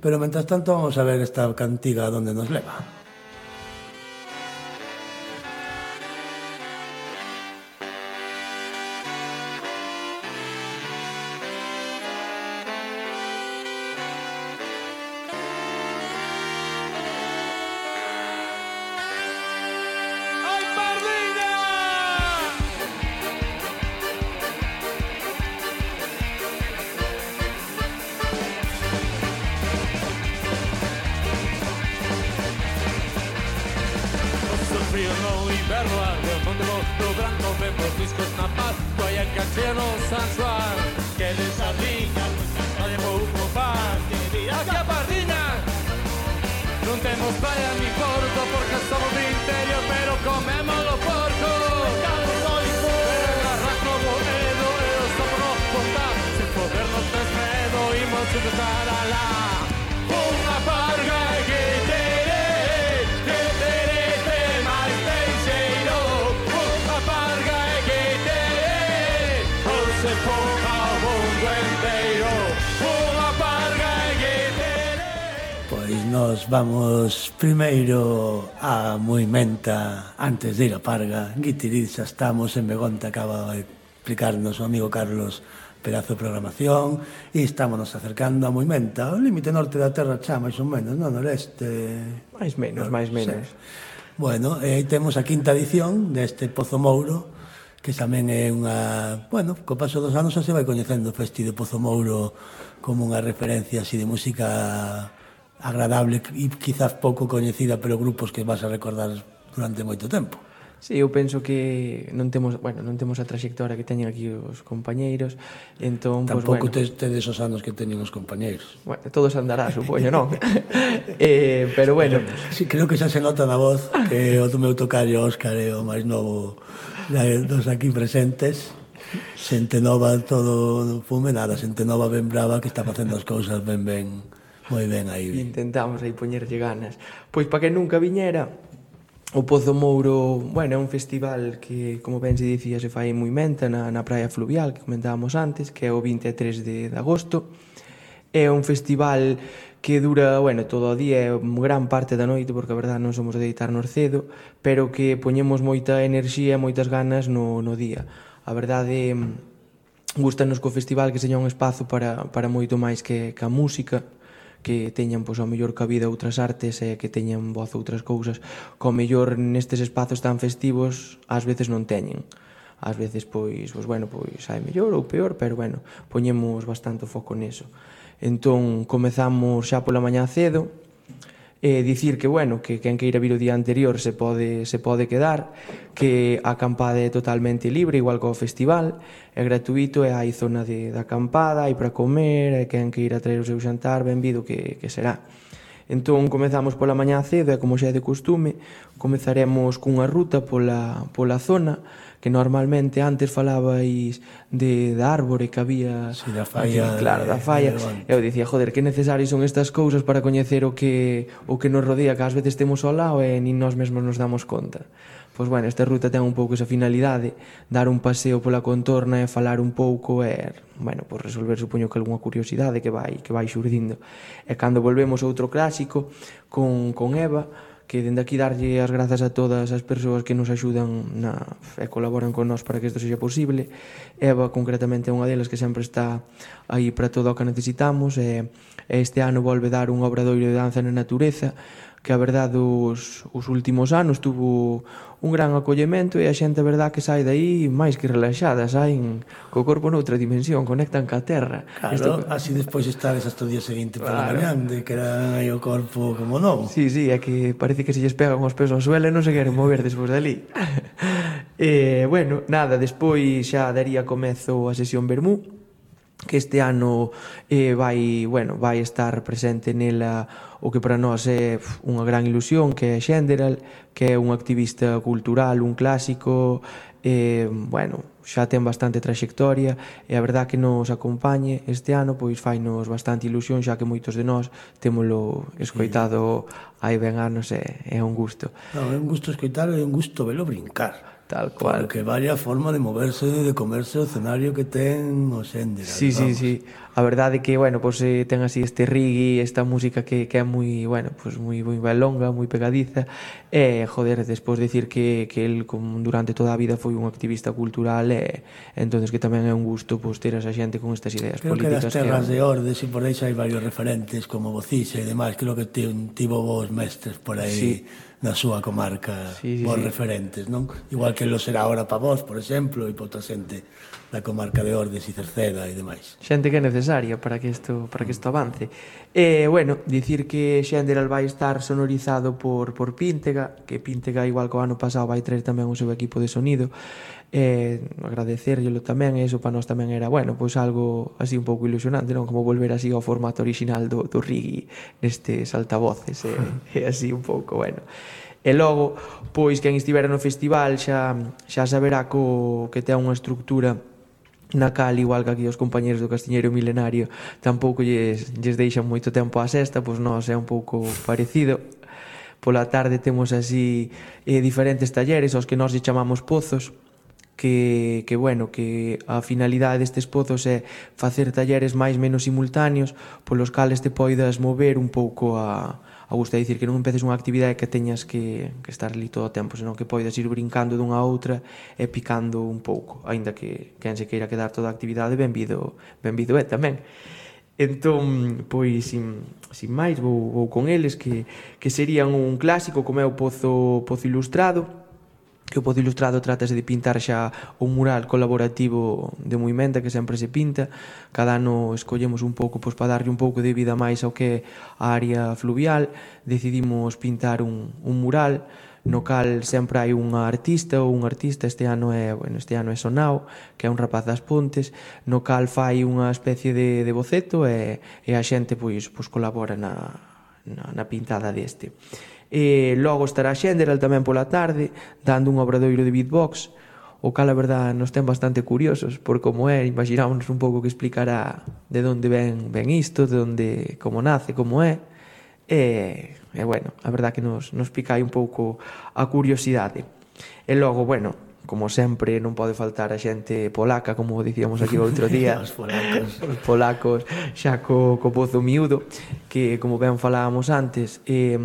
pero mentras tanto vamos a ver esta cantiga donde nos leva. Nos vamos primeiro a Moimenta antes de ir a Parga. Guitiriz, xa estamos en Begonte, acaba de explicarnos o amigo Carlos pedazo de programación, e estámonos acercando a Moimenta, o límite norte da terra xa, máis ou menos, non? Noreste... máis menos, máis menos. Sí. Bueno, e aí temos a quinta edición deste Pozo Mouro, que tamén é unha... Bueno, co paso dos anos xa se vai coñecendo o Festi de Pozo Mouro como unha referencia así de música agradable e quizás pouco coñecida, pero grupos que vas a recordar durante moito tempo. Sí, eu penso que non temos, bueno, non temos a traxectoria que teñen aquí os compañeiros, entón, tampouco pues, bueno, tedes os anos que teñen os compañeiros. Bueno, todos andará, supoño, non? eh, pero bueno, sí, creo que xa se nota na voz que o do meu tocario Óscar é o máis novo dos aquí presentes. Xente nova todo fume, nada, xente nova ben brava que está facendo as cousas ben ben moi ben aí. Intentamos aí poñerlle ganas. Pois para que nunca viñera, o Pozo Mouro, bueno, é un festival que, como ben se dicía, se fai en Moimenta, na, na praia fluvial, que comentábamos antes, que é o vinte e tres de, de agosto. É un festival que dura, bueno, todo o día, gran parte da noite, porque a verdade non somos de deitarnos cedo, pero que poñemos moita enerxía e moitas ganas no, no día. A verdade, gustanos co festival que seña un espazo para, para moito máis que, que a música, que teñan, pois, ao mellor cabida outras artes e que teñan voz outras cousas que ao mellor nestes espazos tan festivos ás veces non teñen. Ás veces, pois, pois bueno, pois hai mellor ou peor, pero, bueno, poñemos bastante foco neso. Entón, comezamos xa pola mañá cedo, e dicir que, bueno, que quen queira vir o día anterior se pode, se pode quedar, que a acampada é totalmente libre, igual que o festival, é gratuito e hai zona de, de acampada, hai para comer, e quen queira traer o seu xantar, benvido que, que será. Entón, comezamos pola mañá cedo, e como xa é de costume, comezaremos cunha ruta pola, pola zona, que normalmente antes falabais de, da árbore que había... Sí, da falla. Aquí, claro, da falla. E eu dicía, joder, que necesarios son estas cousas para coñecer o que, o que nos rodea, que ás veces temos ao lado e nin nós mesmos nos damos conta. Pois, bueno, esta ruta ten un pouco esa finalidade, dar un paseo pola contorna e falar un pouco e, bueno, pois resolver, supoño que algunha curiosidade que vai, que vai xurdindo. E cando volvemos outro clásico con, con Eva, que dende aquí darlle as grazas a todas as persoas que nos axudan na, e colaboran con nós para que isto sexa posible. Eva, concretamente, é unha delas que sempre está aí para todo o que necesitamos, e este ano volve dar un obradoiro de danza na natureza, que a verdade os, os últimos anos tuvo un gran acollemento e a xente, a verdade, que sai daí máis que relaxada, saen co corpo noutra dimensión, conectan ca terra. Claro, Esto... así despois estades hasta o día seguinte pola Claro. mañán, de que eran aí o corpo como novo. Sí, sí, é que parece que se lles pegan os pesos ao suelo e non se queren mover despois dali. E, bueno, nada, despois xa daría comezo a sesión Vermú, que este ano eh, vai, bueno, vai estar presente nela o que para nós é unha gran ilusión, que é Xenderal, que é un activista cultural, un clásico, eh, bueno, xa ten bastante traxectoria, e a verdad que nos acompañe este ano, pois fainos bastante ilusión, xa que moitos de nós témolo escoitado hai ben anos, e é un gusto. Non, é un gusto escoitar e é un gusto velo brincar. Tal cual. Porque vaya forma de moverse, de comerse o escenario que ten o Xenderal. Sí, sí, sí. A verdade é que, bueno, pues, eh, ten así este reggae, esta música que, que é moi, bueno, pues, moi, moi longa, moi pegadiza. E, joder, despois de decir que, que el como durante toda a vida foi un activista cultural, e entonces que tamén é un gusto, pues, ter a esa xente con estas ideas creo políticas. Creo que das terras que... de Ordes e por aí xa hai varios referentes como Bocixa e demais. Creo que tivo vos mestres por aí. Sí. Na súa comarca, sí, sí, vos sí. referentes, non? Igual que lo será ahora para vos, por exemplo, e para outra xente da comarca de Ordes e Cerceda e demais. Xente que é necesaria para que isto para que isto avance. E, bueno, dicir que Xenderal vai estar sonorizado por, por Píntega, que Píntega, igual que o ano pasado, vai traer tamén o seu equipo de sonido. E agradecerllelo tamén, e iso para nós tamén era, bueno, pois algo así un pouco ilusionante, non? Como volver así ao formato original do, do reggae nestes altavoces, e, e así un pouco, bueno. E logo, pois, quen estivera no festival xa, xa saberá co, que ten unha estructura na cal, igual que aquí os compañeros do Castiñeiro Milenario tampouco lles, lles deixan moito tempo á sesta, pois nós é un pouco parecido. Pola tarde temos así eh, diferentes talleres aos que nós lle chamamos pozos, que, que, bueno, que a finalidade destes pozos é facer talleres máis menos simultáneos polos cales te poidas mover un pouco a, a gusto, é dicir, que non empeces unha actividade que teñas que, que estar ali todo o tempo, senón que poidas ir brincando dunha a outra e picando un pouco, aínda que quen se queira quedar toda a actividade, benvido, benvido é tamén. Entón, pois, sin, sin máis, vou, vou con eles, que, que serían un clásico, como é o Pozo, Pozo Ilustrado, que o Pozo Ilustrado trátase de pintar xa un mural colaborativo de Muimenta, que sempre se pinta. Cada ano escollemos un pouco, pois, para darlle un pouco de vida máis ao que é a área fluvial. Decidimos pintar un, un mural, no cal sempre hai unha artista ou un artista. Este ano é, bueno, este ano é Sonao, que é un rapaz das Pontes, no cal fai unha especie de, de boceto e, e a xente pois, pois colabora na, na, na pintada deste. E logo estará Xenderal tamén pola tarde, dando un obradoiro de beatbox, o cal a verdad nos ten bastante curiosos por como é. Imaginámonos un pouco que explicará de onde ven, ven isto, de onde, como nace, como é. E, e bueno, a verdad que nos, nos pica aí un pouco a curiosidade. E logo, bueno, como sempre, non pode faltar a xente polaca, como dicíamos aquí outro día. Os polacos. Os polacos, xa co, co Pozo Miúdo, que, como ben falábamos antes, eh,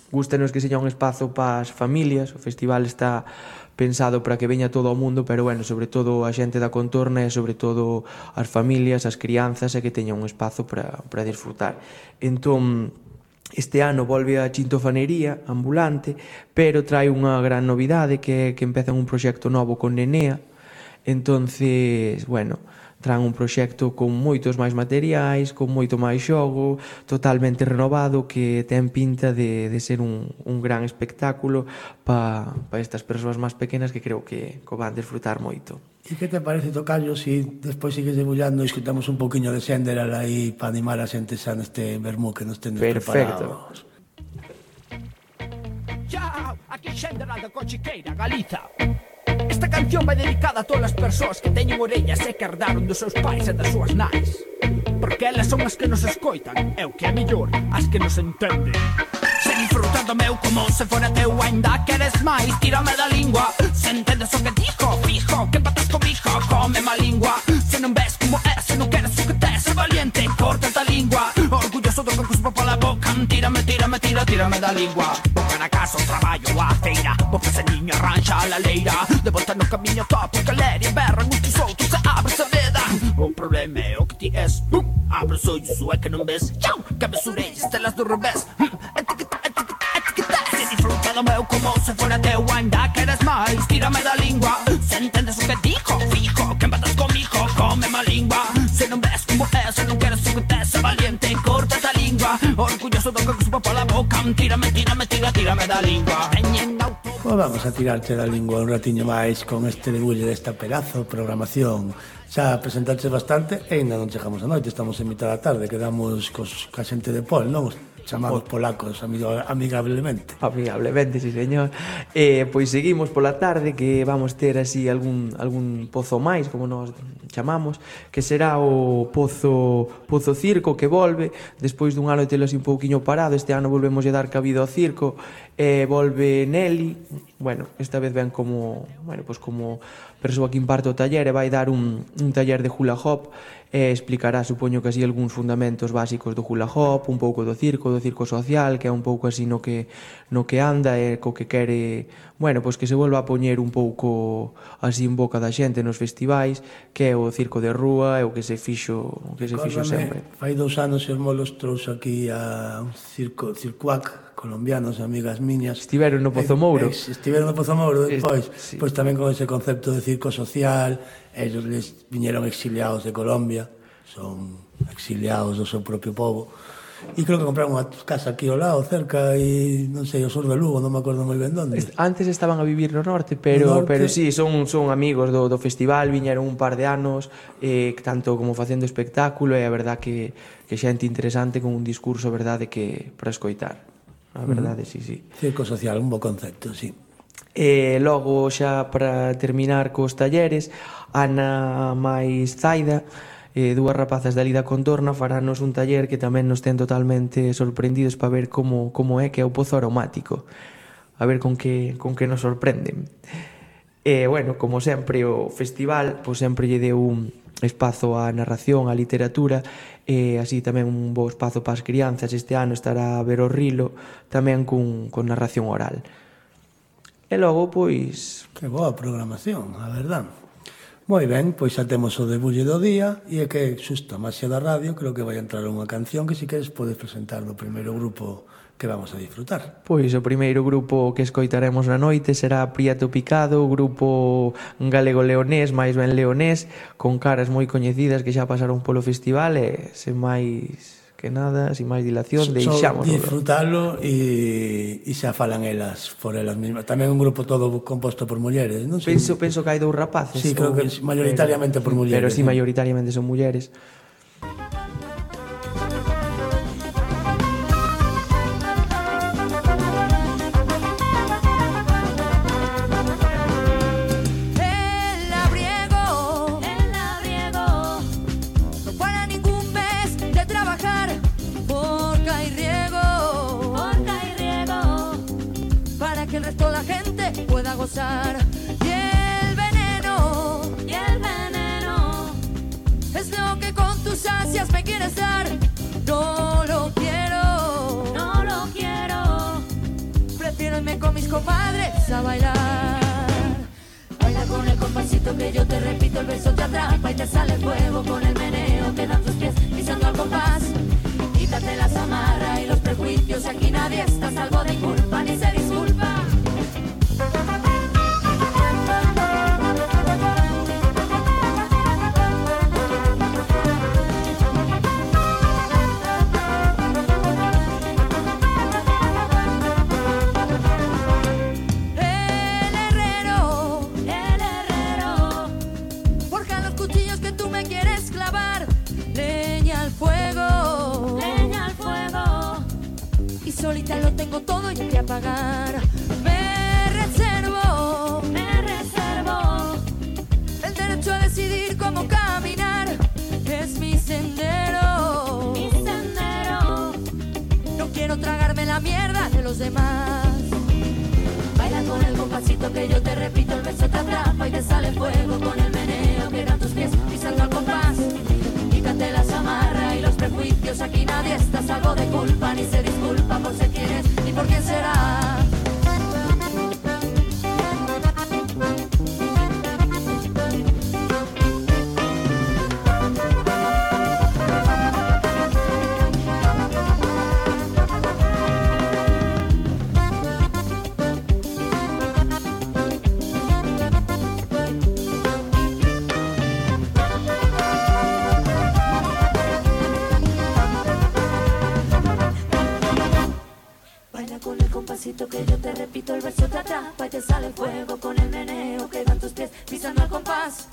gústanos que seña un espazo para as familias. O festival está pensado para que veña todo o mundo, pero, bueno, sobre todo a xente da contorna e sobre todo as familias, as crianzas, e que teña un espazo para, para disfrutar. Entón, este ano volve a Chintofanería ambulante, pero trae unha gran novidade, que é que empezan un proxecto novo con Nenea. Entonces, bueno, traen un proxecto con moitos máis materiais, con moito máis xogo, totalmente renovado, que ten pinta de, de ser un, un gran espectáculo para pa estas persoas máis pequenas, que creo que, que van disfrutar moito. E que te parece, Tocayo, si despois sigues debullando e escutamos un poquinho de Xenderal aí para animar a xente xa neste vermú que nos tenes Perfecto. preparados? Chao, aquí Xenderal da Cochiqueira, Galiza. Esta canción vai dedicada a todas as persoas que teñen orellas e que herdaron dos seus pais e das súas nais, porque elas son as que nos escoitan, e o que é mellor, as que nos entenden. Se disfrutas do meu como se fora teu, ainda queres máis, tírame da lingua. Se entendes o que dijo, fijo, que empatas comigo, come má lingua. Se non ves como é, se non queres o que tes, é valiente, corta a lingua. Orgulloso do que cuspo pola boca, tírame, tírame, tira, tírame da lingua. Boca na casa, o traballo, a feira, boca se niño arranxa a la leira. De volta no camiño topo, galeria, berran uns tus outros, se abre a veda. O problema é o que ti és, bum, abre os ollos, o é que non ves. Chau, que abres orellas, telas do revés. Etiqueta, etiqueta, etiqueta. Se disfruta do meu como se fora teu, ainda queres máis, tírame da lingua. Se entendes o que dijo, fijo, que empatas comigo, come má lingua. Se non ves como é, se non queres o que tes, é valiente, corta a lingua. Orgulloso do que cuspo pola boca, tírame, tírame, tira, tírame da lingua. Veñen auto. Pois vamos a tirarte da lingua un ratiño máis con este debulle desta pedazo programación. Xa presentaste bastante e ainda non chegamos a noite, estamos en mitad da tarde, quedamos cos, ca xente de Pol, non? Os chamados polacos, amigo, amigablemente. Amigablemente, sí, señor. Eh, pois seguimos pola tarde, que vamos ter así algún, algún pozo máis, como nos chamamos, que será o Pozo, Pozo Circo, que volve, despois dun ano de telo así un pouquiño parado. Este ano volvemos a dar cabida ao circo, e eh, volve Nelly. Bueno, esta vez ven como, bueno, pues como persoa que imparte o taller, e vai dar un, un taller de hula hop, e explicará, supoño que así, algúns fundamentos básicos do hula hop, un pouco do circo, do circo social, que é un pouco así no que no que anda e co que quere, bueno, pois que se volva a poñer un pouco así en boca da xente nos festivais, que é o circo de rúa, e o que se fixo, o que se fixo sempre. Fai dous anos os molos trouxe aquí a un circo, circuac, colombianos, amigas miñas. Estiveron no Pozo Mouro. Estiveron no Pozo Mouro depois, sí. Pois tamén con ese concepto de circo social. Ellos les viñeron exiliados de Colombia, son exiliados do seu propio povo, e creo que compraron unha casa aquí ao lado, cerca, e non sei, o sur de Lugo, non me acordo moi ben onde. Antes estaban a vivir no norte, pero no norte. pero sí, son son amigos do do festival, viñeron un par de anos, eh, tanto como facendo espectáculo, e a verdad que que xente interesante con un discurso, verdade, que para escoitar. A verdade, mm. sí, sí. Circo social, un bo concepto, sí. E logo, xa para terminar cos talleres, Ana máis Zaida, eh, dúas rapazas da Lida Contorna, faranos un taller que tamén nos ten totalmente sorprendidos para ver como, como é, que é o pozo aromático. A ver con que, con que nos sorprenden. E, bueno, como sempre, o festival pois sempre lle deu un espazo á narración, á literatura, e así tamén un bo espazo para as crianzas. Este ano estará a ver o Rilo tamén cun, con narración oral. E logo, pois... Que boa programación, a verdad. Moi ben, pois xa temos o debulle do día, e é que xusto a máxia da radio creo que vai entrar unha canción que si queres podes presentar do primeiro grupo que vamos a disfrutar. Pois o primeiro grupo que escoitaremos na noite será Prieto Picado, grupo galego-leonés, máis ben leonés, con caras moi coñecidas que xa pasaron polo festival e sen máis que nada, sin máis dilación, deixámoslo. Só disfrutalo e, e xa falan elas por elas mismas. Tamén un grupo todo composto por mulleres, non? Penso, penso que hai dous rapaces. Sí, creo que mayoritariamente por mulleres. Pero sí, mayoritariamente son mulleres. Y el veneno, y el veneno es lo que con tus ansias me quieres dar. No lo quiero, no lo quiero. Prefiero irme con mis compadres a bailar. Baila con el compasito que yo te repito, el beso te atrapa y te sale fuego con el meneo que dan tus pies pisando al compás. Quítate las amarras y los prejuicios, aquí nadie está a salvo de culpa ni se disculpa. Solita lo tengo todo y hay que apagar. Me reservo, me reservo el derecho a decidir cómo caminar. Es mi sendero, mi sendero. No quiero tragarme la mierda de los demás. Baila con el compasito que yo te repito, el beso te atrapa y te sale fuego con el meneo que dan tus pies pisando al compás. Quítate las amarras y los prejuicios, aquí nadie está a salvo de culpa ni se disculpa por ser quien es ni por quién será. Que yo te repito, el verso te atrapa y te sale fuego con el meneo que dan tus pies pisando al compás.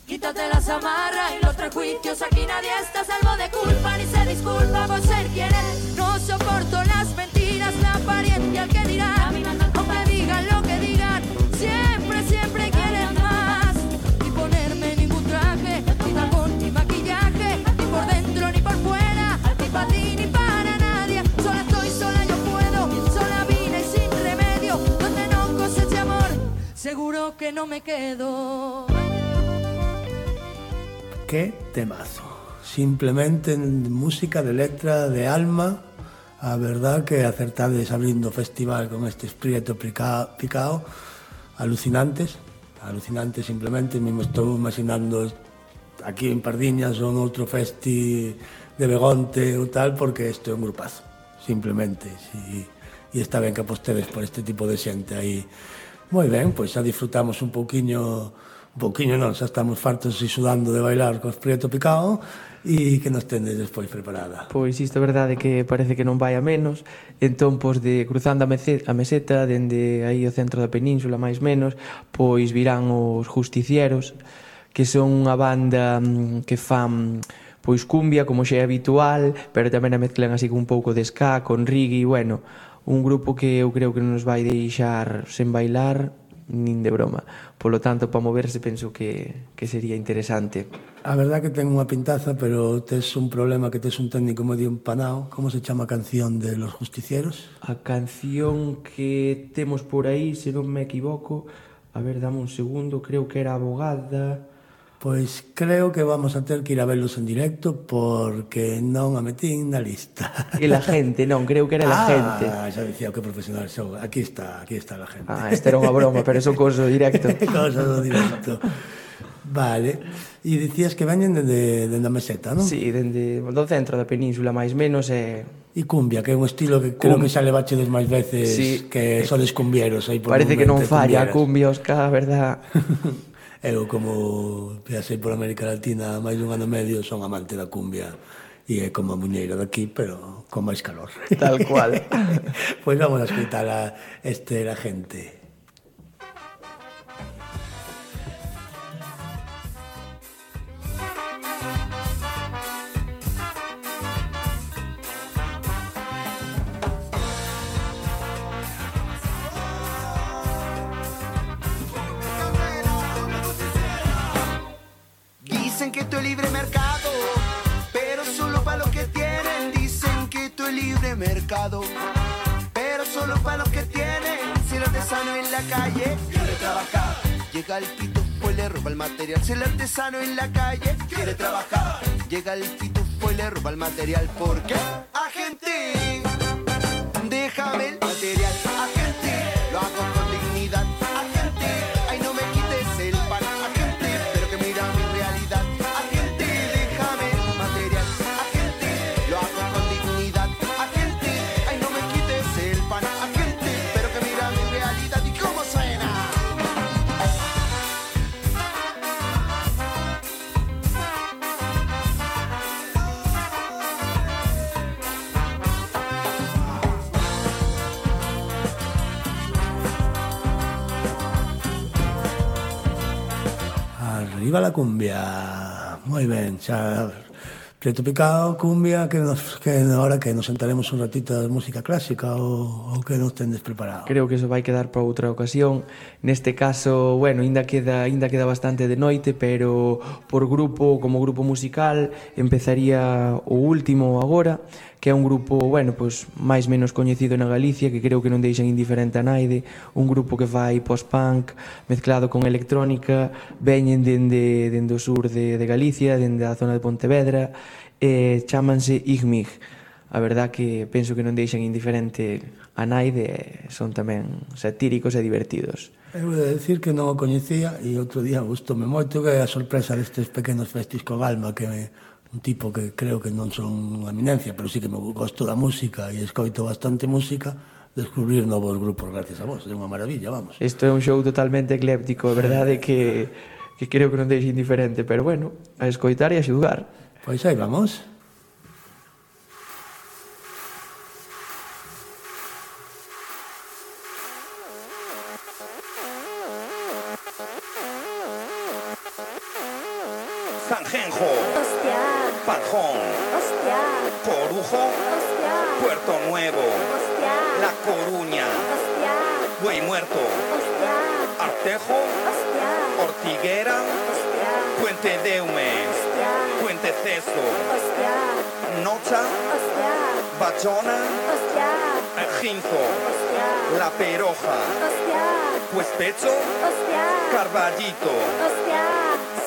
Quítate las amarras y los prejuicios, aquí nadie está a salvo de culpa ni se disculpa por ser quien es. No soporto las mentiras, la apariencia, el que dirán, o me digan lo que digan, siempre, siempre quieren más. Ni ponerme ningún traje, ni tapón, ni maquillaje, ni por dentro ni por fuera, ni para ti ni para nadie. Sola estoy, sola yo puedo, sola vine y sin remedio, donde no coseche amor, seguro que no me quedo. Qué temazo. Simplemente música de letra, de alma. A verdad que acertades abrindo o festival con este Prieto Picado. Alucinantes. Alucinantes simplemente. Me estou imaginando aquí en Pardiñas ou noutro festi de Begonte ou tal, porque isto é un grupazo. Simplemente. Si, e está ben que apostedes por este tipo de xente aí. Moi ben, pois xa disfrutamos un pouquiño... Un pouquiño non, xa estamos fartos e sudando de bailar cos Prieto Picado e que nos tendes despois preparada. Pois isto é verdade que parece que non vai a menos. Entón, pois de cruzando a meseta, dende aí o centro da península, máis menos, pois virán os Justicieros, que son unha banda que fan pois cumbia, como xa é habitual, pero tamén a mezclan así con un pouco de ska, con reggae, e bueno, un grupo que eu creo que non nos vai deixar sen bailar nin de broma. Polo tanto, para moverse penso que, que sería interesante. A verdad que ten unha pintaza, pero tes un problema que tes un técnico medio empanado. Como se chama a canción de Los Justicieros? A canción que temos por aí, se non me equivoco, A ver, dame un segundo, creo que era Abogada. Pois creo que vamos a ter que ir a velos en directo porque non a metín na lista. E la gente, non, creo que era la gente. Ah, xa dicía que profesional son. Aquí está, aquí está la gente. Ah, esta era unha broma, pero son cousa do directo. Cousa do directo. Vale. E dicías que veñen dende, dende a meseta, non? Sí, dende do centro da península, máis menos, e... E cumbia, que é un estilo que creo Cum... que xa levachedes máis veces sí. que sodes cumbieros. Aí por Parece que non falla a cumbieras. cumbia, Óscar, verdad? Eu, como viaxei por América Latina máis dun ano e medio, son amante da cumbia e é como a muñeira daqui, pero con máis calor. Tal cual. Pois vamos a escutar a este la gente. Dicen que esto es libre mercado, pero solo para los que tienen. Dicen que esto es libre mercado, pero solo para los que tienen. Si el artesano en la calle quiere trabajar, llega el pitufo y le roba el material. Si el artesano en la calle quiere trabajar, llega el pitufo y le roba el material. ¿Por qué? Agente, déjame el material. Agente, lo hago con dignidad. Agente, ay no me quites el pan. Agente, pero que mira mi realidad. Agente, déjame el material. Agente, lo hago con dignidad. Agente, ay no me quites el pan. Agente, pero que mira mi realidad. ¿Y cómo suena? Arriba la cumbia. Moi ben, xa preto picado, cumbia, que nos que ahora que nos sentaremos un ratito de música clásica ou, ou que nos tendes preparado. Creo que eso vai quedar para outra ocasión. Neste caso, bueno, ainda queda ainda queda bastante de noite, pero por grupo, como grupo musical, empezaría o último agora, que é un grupo, bueno, pois máis menos coñecido na Galicia, que creo que non deixan indiferente a naide, un grupo que fai post-punk mezclado con electrónica, veñen dende, dende o sur de, de Galicia, dende a zona de Pontevedra, e chámanse Igmig. A verdad que penso que non deixan indiferente a naide, son tamén satíricos e divertidos. Eu vou decir que non o coñecía e outro día gustoume moito que é a sorpresa destes pequenos festis co Galma, que me un tipo que creo que non son unha eminencia, pero sí que me gosto da música e escoito bastante música, descubrir novos grupos gracias a vos, é unha maravilla, vamos. Isto é un show totalmente ecléptico, é verdade que, que creo que non deixe indiferente, pero bueno, a escoitar e a xugar. Pois aí vamos. Sanjenjo, Hostia, Pajón, hostia, Corujo, hostia, Puerto Nuevo, hostia, La Coruña, hostia, Buey Muerto, hostia, Artejo, hostia, Ortiguera, hostia, Puente Deume, hostia, Puente Ceso, hostia, Nocha, hostia, Bayona, hostia, Ejinzo, hostia, La Peroja, hostia, Puespecho, hostia, Carballito. hostia.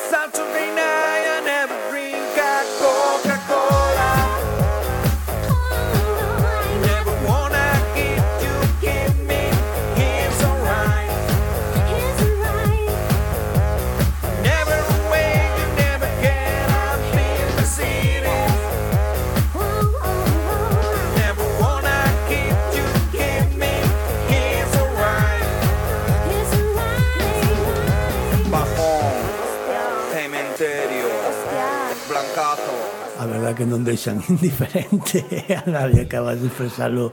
Saturday night I never drink a Coca-Cola. Never wanna give you, give me, it's alright. Never away, you never get up in the city. Never wanna give you, give me, it's alright. Bajón, cementerio, Blancazo. A verdad que non deixan indiferente a nadie, acabas de expresarlo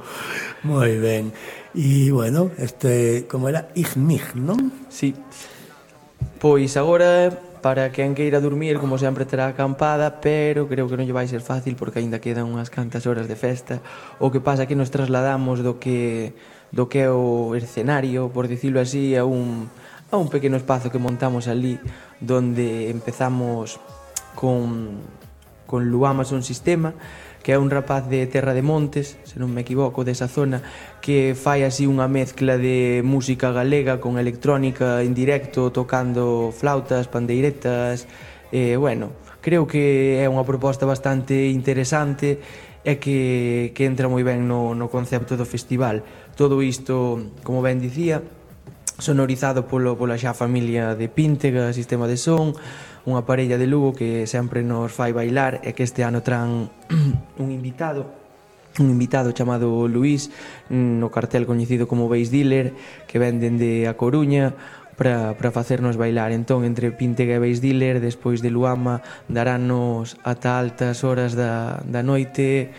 moi ben. E, bueno, este, como era, Igmig, non? Sí. Pois agora, para quen queira dormir, como sempre terá acampada, pero creo que non lle vai ser fácil porque aínda quedan unhas cantas horas de festa. O que pasa é que nos trasladamos do que do que é o escenario, por dicilo así, a un a un pequeno espazo que montamos ali, donde empezamos con con Luama Son Sistema, que é un rapaz de Terra de Montes, se non me equivoco, desa zona, que fai así unha mezcla de música galega con electrónica en directo, tocando flautas, pandeiretas, e, bueno, creo que é unha proposta bastante interesante e que, que entra moi ben no, no concepto do festival. Todo isto, como ben dicía, sonorizado polo, pola xa familia de Píntega, Sistema de Son, unha parella de Lugo que sempre nos fai bailar e que este ano tran un invitado un invitado chamado Luís no cartel coñecido como Bass Dealer, que ven dende A Coruña para, para facernos bailar. Entón, entre Píntega e Bass Dealer, despois de Luama, darános ata altas horas da, da noite,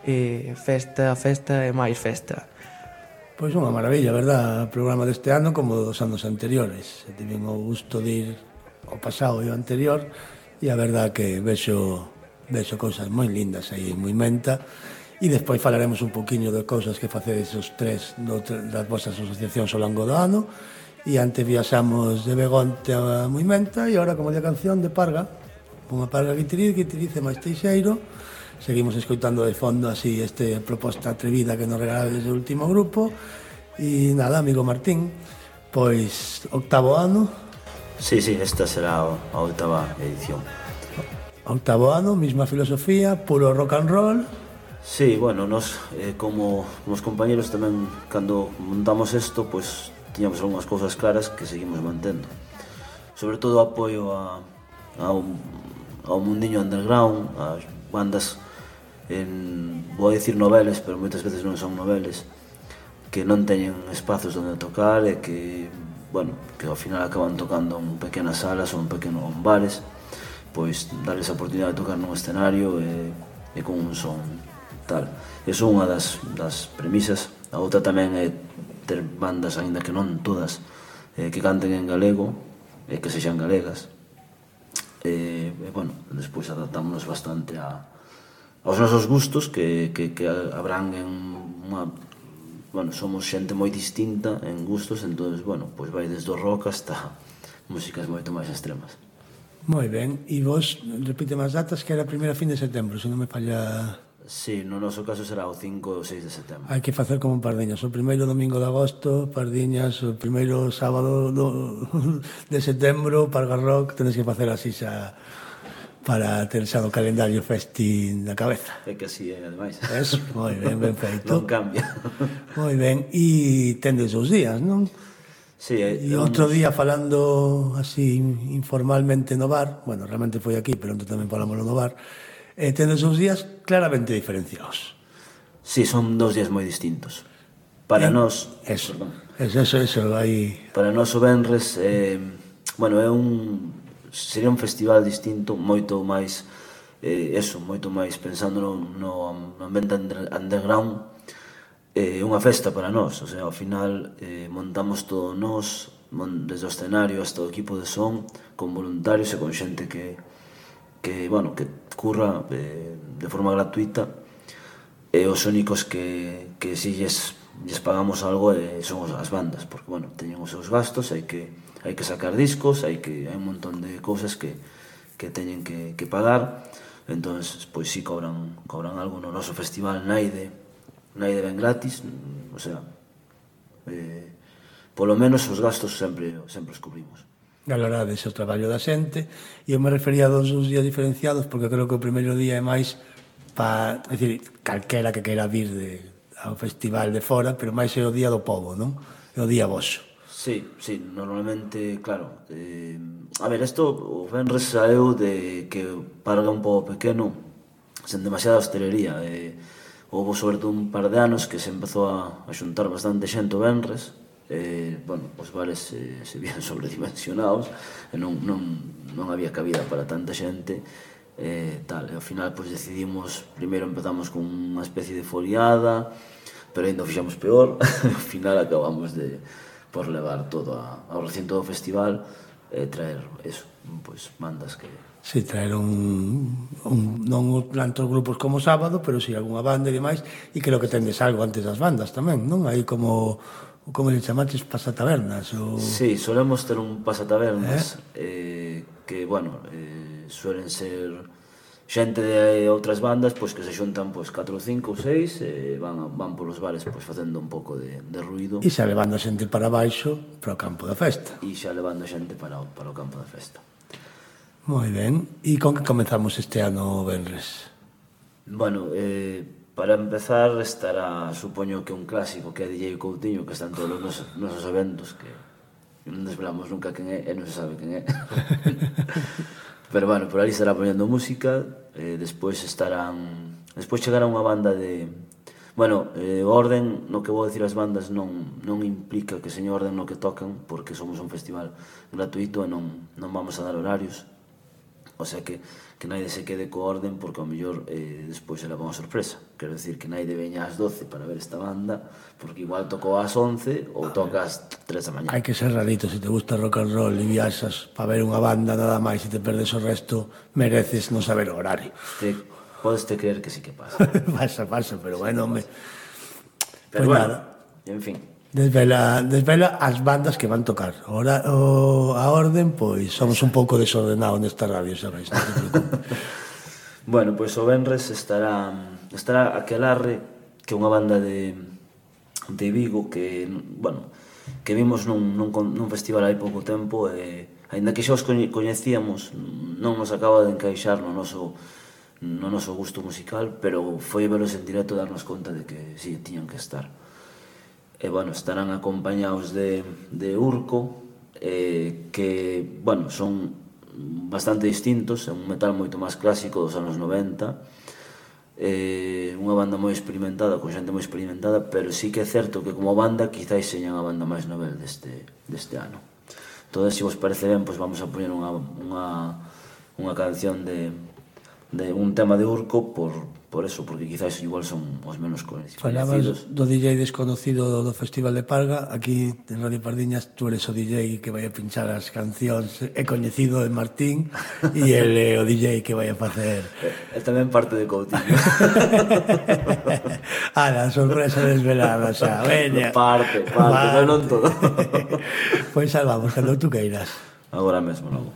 eh, festa, festa e máis festa. Pois unha maravilla, verdad, o programa deste ano como dos anos anteriores. Tiven o gusto de ir ao pasado e ao anterior e a verdad que vexo, vexo cousas moi lindas aí en Moimenta e despois falaremos un poquinho de cousas que facedes os tres do, das vosas asociacións ao longo do ano. E antes viaxamos de Begonte a Moimenta e agora, como di a canción, de Parga, unha Parga Guitiriz, Guitiriz e máis Teixeiro. Seguimos escoitando de fondo así este proposta atrevida que nos regalades do último grupo. E nada, amigo Martín, pois octavo ano. Sí, sí, esta será a oitava edición. Octavo ano, misma filosofía, puro rock and roll. Sí, bueno, nos eh, como os compañeros tamén, cando montamos isto, pois tiñamos algunhas cousas claras que seguimos mantendo. Sobre todo o apoio a, ao, ao mundiño underground, ás bandas, en, vou a dicir noveles, pero moitas veces non son noveles, que non teñen espazos onde tocar e que, bueno, que ao final acaban tocando en pequenas salas ou en pequenos bares, pois darles a oportunidade de tocar nun escenario e, e con un son tal. Eso é unha das, das premisas. A outra tamén é ter bandas, aínda que non todas, eh, que canten en galego e que sexan galegas. E, e bueno, despois adaptámonos bastante a, aos nosos gustos que, que, que abranguen unha... Bueno, somos xente moi distinta en gustos, entón, bueno, pois vai desde o rock hasta músicas moito máis extremas. Moi ben, e vos repite as datas que era a primeira fin de setembro, se non me falla... Sí, no noso caso será o cinco ou seis de setembro. Hai que facer como Pardiñas, o primeiro domingo de agosto, Pardiñas, o primeiro sábado do, de setembro, Parga Rock, tenes que facer así xa para ter xa o calendario festi na cabeza. É que así é, ademais. Eso, moi ben, ben feito. Non cambia. Moi ben, e tendes os días, non? Sí, e outro día falando así informalmente no bar, bueno, realmente foi aquí, pero onde tamén falamos no bar, eh, tendes uns días claramente diferenciados. Sí, son dos días moi distintos. Para eh, nós... Eso, eso, eso, eso, aí... Para nós o Venres, eh, bueno, é un... Sería un festival distinto, moito máis... Eh, eso, moito máis pensando no, no ambiente under, underground. É eh, unha festa para nós, o sea, ao final eh, montamos todo nós, desde o escenario hasta o equipo de son, con voluntarios e con xente que... que, bueno, que curra eh, de forma gratuita e os únicos que, que si lles, lles pagamos algo eh, son as bandas, porque, bueno, teñen os seus gastos, hai que, hai que sacar discos, hai que hai un montón de cousas que, que teñen que, que pagar, entón, pois si cobran, cobran algo no noso festival Naide, Naide ben gratis, o sea, eh, polo menos os gastos sempre, sempre os cubrimos. Valorades o traballo da xente, e eu me refería a dos días diferenciados porque creo que o primeiro día é máis para, é dicir, calquera que queira vir de, ao festival de fora, pero máis é o día do povo, non? É o día voso. Sí, sí, normalmente, claro, eh, a ver, isto o Venres saeu de que Parga un pobo pequeno, sen demasiada hostelería, eh, houve sobre todo un par de anos que se empezou a, a xuntar bastante xente o Venres. Eh, bueno, os bares eh, se vían sobredimensionados e non, non, non había cabida para tanta xente eh, tal, e ao final pois decidimos, primeiro empezamos con unha especie de foliada, pero ainda o fixamos peor ao final acabamos de por levar todo a, ao recinto do festival e traer eso, pois bandas que... Si, sí, traer un, un non tantos grupos como sábado, pero si sí, algunha banda e demais, e creo que tendes algo antes das bandas tamén, non? Aí como... como le chamaches, pasatabernas ou... Sí, solemos ter un pasatabernas eh? Eh, que, bueno, eh, suelen ser xente de outras bandas pois que se xuntan pois catro, cinco ou seis e van, van polos bares pois facendo un pouco de, de ruido e xa levando a xente para baixo para o campo da festa e xa levando a xente para o, para o campo da festa. Moi ben, e con que comezamos este ano o venres? Bueno, eh, para empezar estará, supoño que un clásico que é D J Coutinho, que está en todos os nosos, nosos eventos, que non desvelamos nunca quen é e non se sabe quen é. Pero bueno, por ali estará poñendo música, eh, despois estarán... Despois chegará unha banda de... Bueno, eh, o orden no que vou decir as bandas non, non implica que señor orden no que tocan, porque somos un festival gratuito e non, non vamos a dar horarios. O sea que, que naide se quede co orden, porque ao mellor eh, despois se leva unha sorpresa. Quero decir que naide veña ás doce para ver esta banda, porque igual tocou ás once ou toca ás tres da mañá. Hai que ser rarito, se te gusta rock and roll e viaxas para ver unha banda nada máis e te perdes o resto, mereces non saber o horario. Te, podes te creer que sí que pasa. pasa, pasa, pero bueno, hombre. Pero pues bueno, nada. En fin. Desvela, desvela as bandas que van tocar. Ora, o, a orden, pois, somos un pouco desordenados nesta radio, sabes? Non te preocupes. Bueno, pois o venres estará estará Aquelarre, que é unha banda de, de Vigo que, bueno, que vimos nun, nun, nun festival hai pouco tempo e, aínda que xa os coñecíamos, non nos acaba de encaixar no noso, no noso gusto musical, pero foi velos en directo darnos conta de que sí, tiñan que estar. E, bueno, estarán acompañados de, de Urco, eh, que, bueno, son bastante distintos, é un metal moito máis clásico dos anos noventa, eh, unha banda moi experimentada, con xente moi experimentada, pero sí que é certo que como banda quizáis señan a banda máis novel deste, deste ano. Entón, se vos parece ben, pois vamos a poñer unha, unha, unha canción de, de un tema de Urco por, por eso, porque quizás igual son os menos conhecidos. Falabas do D J desconocido do Festival de Parga. Aquí en Radio Pardiñas tú eres o D J que vai a pinchar as cancións. É coñecido de Martín e el é o D J que vai a facer. É tamén parte de Coutinho. Ah, la sorpresa desvelada, xa, veña. Parte, parte, pero non todo. Pois salvamos, cando tú queiras. Agora mesmo, logo.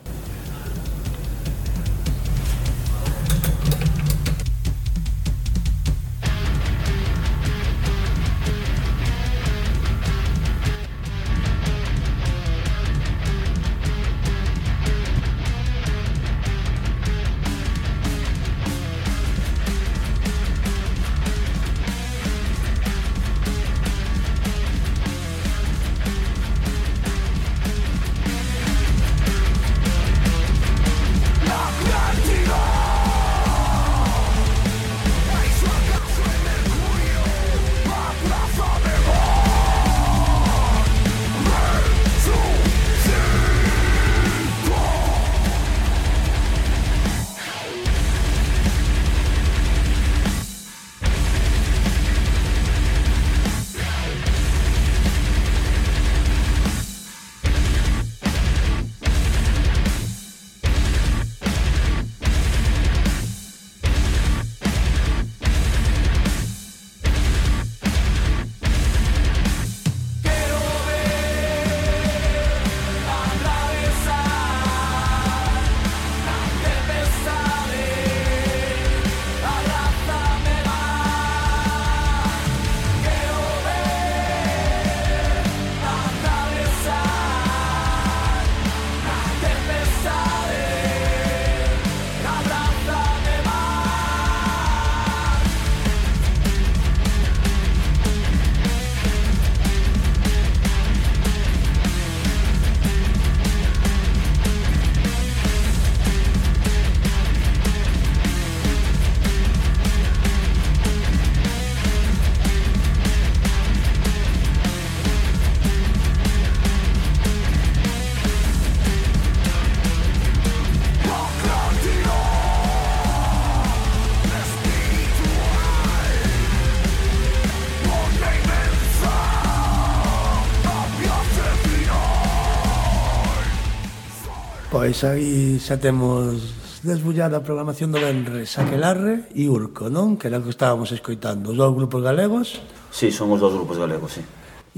Pois aí xa temos desbullada a programación do venres, Aquelarre e Urco, non? Que era o que estábamos escoitando. Os dous grupos galegos. Sí, son os dous grupos galegos, sí.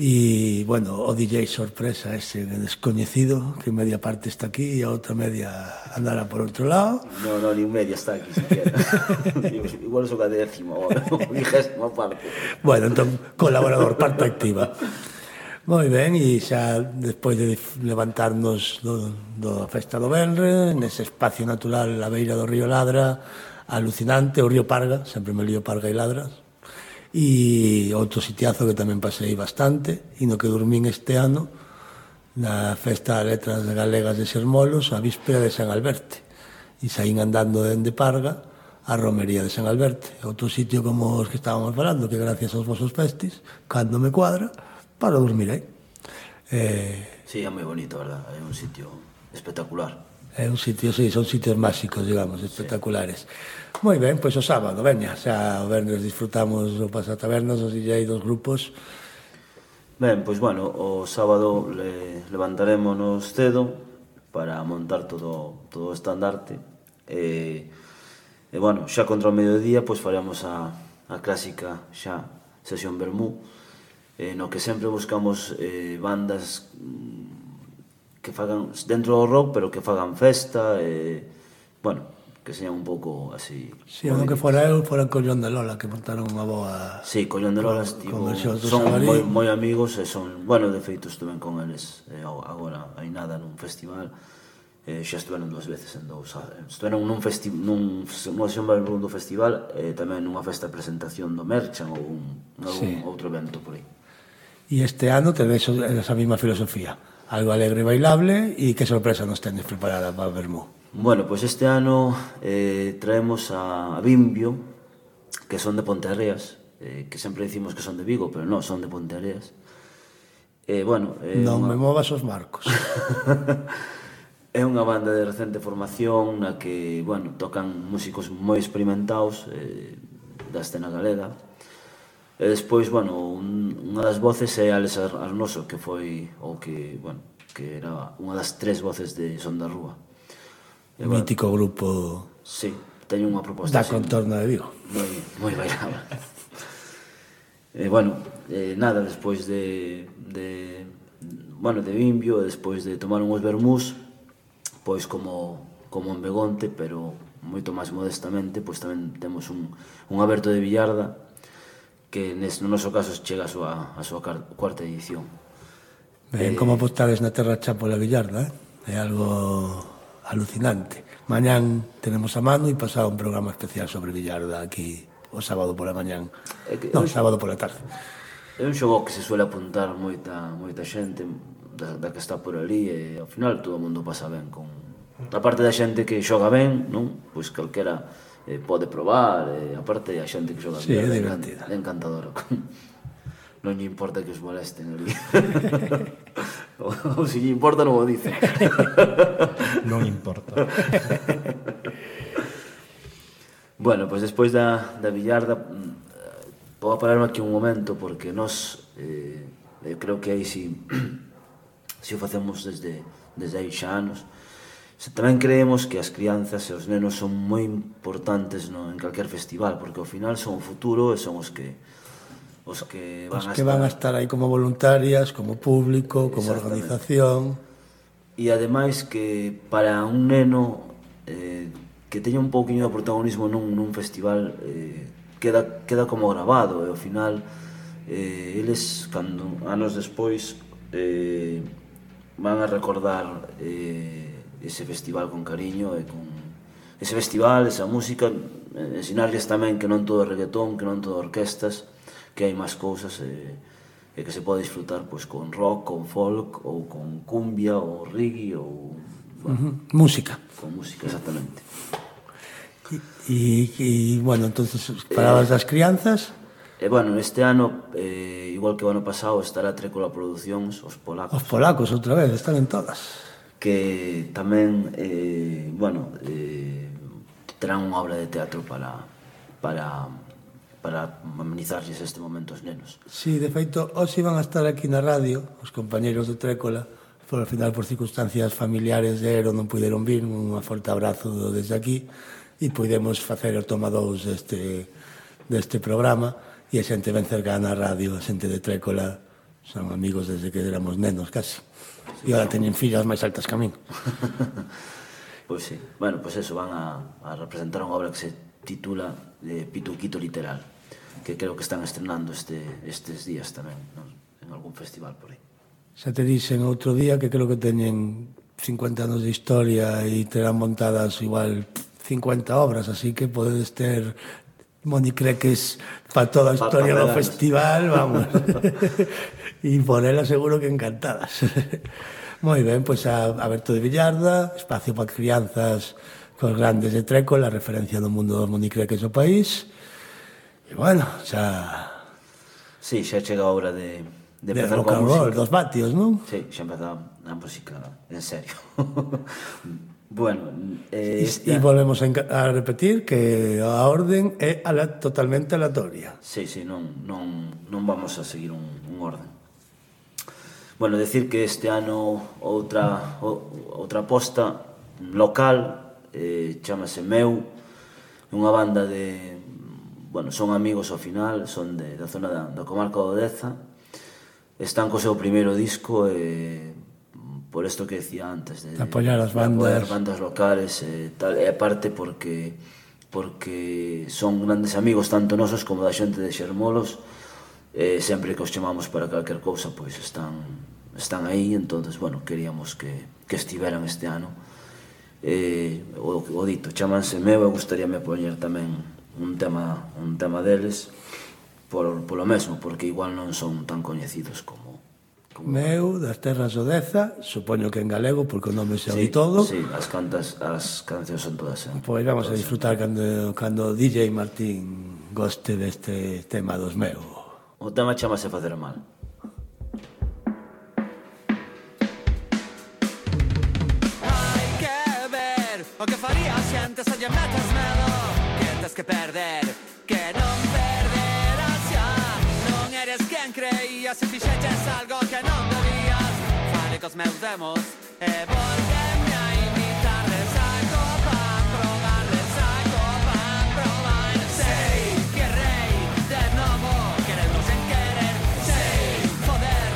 E, bueno, o D J sorpresa ese descoñecido, que media parte está aquí e a outra media andará por outro lado. No, no, ni media está aquí siquiera. Igual son a décima ou a vigésima parte. Bueno, entón, colaborador, parte activa. Moi ben, e xa despois de levantarnos do, do festa do Benre, nese espacio natural a beira do río Ladra, alucinante, o río Parga, sempre me lío Parga e Ladras, e outro sitiazo que tamén pasei bastante, e no que dormín este ano, na festa de letras galegas de Sermolos, a víspera de San Alberte, e saín andando dende Parga a romería de San Alberte, outro sitio como os que estábamos falando, que gracias aos vosos festis, cando me cuadra, para dormir aí. Eh, sí, é moi bonito, verdad? É un sitio espectacular. É un sitio, sí, son sitios máxicos, digamos, espectaculares. Sí. Moi ben, pois o sábado, veña, xa o vernes disfrutamos o pasatabernas, os D J dos grupos. Ben, pois bueno, o sábado le, levantarémonos cedo para montar todo, todo o estandarte. E, e bueno, xa contra o mediodía, pois faremos a, a clásica xa sesión vermú, eh, no que sempre buscamos eh, bandas que fagan dentro do rock, pero que fagan festa, e, bueno, que sean un pouco así... Si, sí, que fora eu, fora Collón de Lola, que montaron unha boa... Sí, Collón de Lola, estivo, son moi, moi amigos, e son, bueno, de feito estuven con eles eh, agora, hai nada, nun festival, eh, xa estuveron dúas veces en dous, estuveron nun festival, nun, nunha sesión do festival, e eh, tamén nunha festa de presentación do Merchan, ou un, algún sí. outro evento por aí. E este ano tenéis esa mesma filosofía, algo alegre e bailable, e que sorpresa nos tenes preparada para o Vermú? Bueno, pois pues este ano eh, traemos a, a Bimbio, que son de Ponteareas, eh, que sempre dicimos que son de Vigo, pero non, son de Ponteareas. Eh, bueno, eh, non unha... me movas os marcos. É unha banda de recente formación na que, bueno, tocan músicos moi experimentados eh, da escena galega. E despois, bueno, un, unha das voces é Alex Arnoso, que foi, ou que, bueno, que era unha das tres voces de Son da Rúa. E, mítico bueno, grupo... Sí, teño unha proposta da contorna de Vigo. Moi, moi bailable. E, bueno, eh, nada, despois de, de, bueno, de Bimbio, e despois de tomar unhos vermús, pois como, como en Begonte, pero moito máis modestamente, pois tamén temos un, un aberto de Villarda, que nes, no noso caso chega a súa, a súa cuarta edición. Ben, eh, como apostades na terra cha pola Villarda, eh? É algo alucinante. Mañán tenemos a mano e pasado un programa especial sobre Villarda aquí o sábado pola mañán. Que, non, sábado pola tarde. É un xogo que se suele apuntar moita, moita xente da, da que está por ali, e ao final todo o mundo pasa ben con... A parte da xente que xoga ben, non? Pois calquera eh, pode probar, e a parte da xente que xoga sí, ben, é divertida. É encantadora. Non lle importa que os molesten ali. Ou se lle importa non o dice. Non importa. Bueno, pois despois da, da Villarda vou pararme aquí un momento, porque nós eh, eu creo que aí si, si o facemos desde, desde aí xa anos, se tamén creemos que as crianzas e os nenos son moi importantes no, en calquer festival, porque ao final son o futuro e son os que os que van, os a, que estar... van a estar aí como voluntarias, como público, como organización. E ademais que para un neno eh, que teña un pouquiño de protagonismo nun, nun festival eh, queda, queda como grabado, e ao final eh, eles, cando anos despois eh, van a recordar eh, ese festival con cariño e con ese festival, esa música, eh, ensinarles tamén que non todo é reggaetón, que non todo é orquestas, que hai máis cousas e, e que se pode disfrutar pois, con rock, con folk, ou con cumbia, ou reggae, ou... Bueno, uh-huh. Música. Con música, exactamente. E, e bueno, entonces, palabras eh, das crianzas... E, bueno, este ano, eh, igual que o ano pasado, estará Trécola Producións, os polacos. Os polacos, outra vez, están en todas. Que tamén, eh, bueno, eh, terán unha obra de teatro para... para para amenizarles este momento aos nenos. Sí, de feito, hoxe iban a estar aquí na radio os compañeros de Trécola, por ao final por circunstancias familiares de Ero non puderon vir, un forte abrazo desde aquí, e podemos facer o toma dous deste, deste programa, e a xente ben cercana á radio, a xente de Trécola, Son amigos desde que éramos nenos, casi. E ahora teñen fillas máis altas que a min. Pois sí. Bueno, pois eso, van a, a representar unha obra que se titula de Pituquito Literal, que creo que están estrenando este, estes días tamén, non? En algún festival por aí. Xa te dixen outro día que creo que teñen cincuenta anos de historia e terán montadas igual cincuenta obras, así que podedes ter monicreques para toda a historia do festival, vamos. E por ela seguro que encantadas. Moi ben, pois a Aberto de Villarda, espacio para crianzas cos grandes de Trécol, a referencia do mundo dos monicreques do país. E bueno, xa... Sí, xa chega a hora de, de de empezar rock coa and roll, música. dos vatios, non? Sí, xa empeza a música en serio. Bueno, eh, E esta... volvemos a, a repetir que a orden é ala, totalmente aleatoria. Sí, sí, non, non, non vamos a seguir un, un orden. Bueno, decir que este ano outra, outra aposta local, eh, chamase Meu, unha banda de... Bueno, son amigos ao final, son de, da zona da, da comarca do Deza. Están co seu primeiro disco e... por isto que decía antes de, de apoiar as bandas, bandas, apoiar bandas locales e tal, e aparte porque porque son grandes amigos tanto nosos como da xente de Xermolos, e sempre que os chamamos para calquer cousa pois están están aí, entonces bueno, queríamos que, que estiveran este ano. E, o, o dito, chamanse Meu, e gustaríame poñer tamén un tema un tema deles por, polo mesmo, porque igual non son tan coñecidos como Meu, das terras do Deza, supoño que en galego, porque o nome se sí, oí todo. Sí, as cantas, as cancións son todas en... Pois vamos a disfrutar cando, cando D J Martín goste deste tema dos Meu. O tema chamase Facer Mal. Hai que ver o que farías se antes a lle metes medo. Que tes que perder, que non perderás xa. Non eres quen creías se fixeches algo que non debías. Fale cos meus demos e volveme a invitar de saco pan, probar de saco pan, probar. Sei que rei de novo, queremos en querer. Sei poder,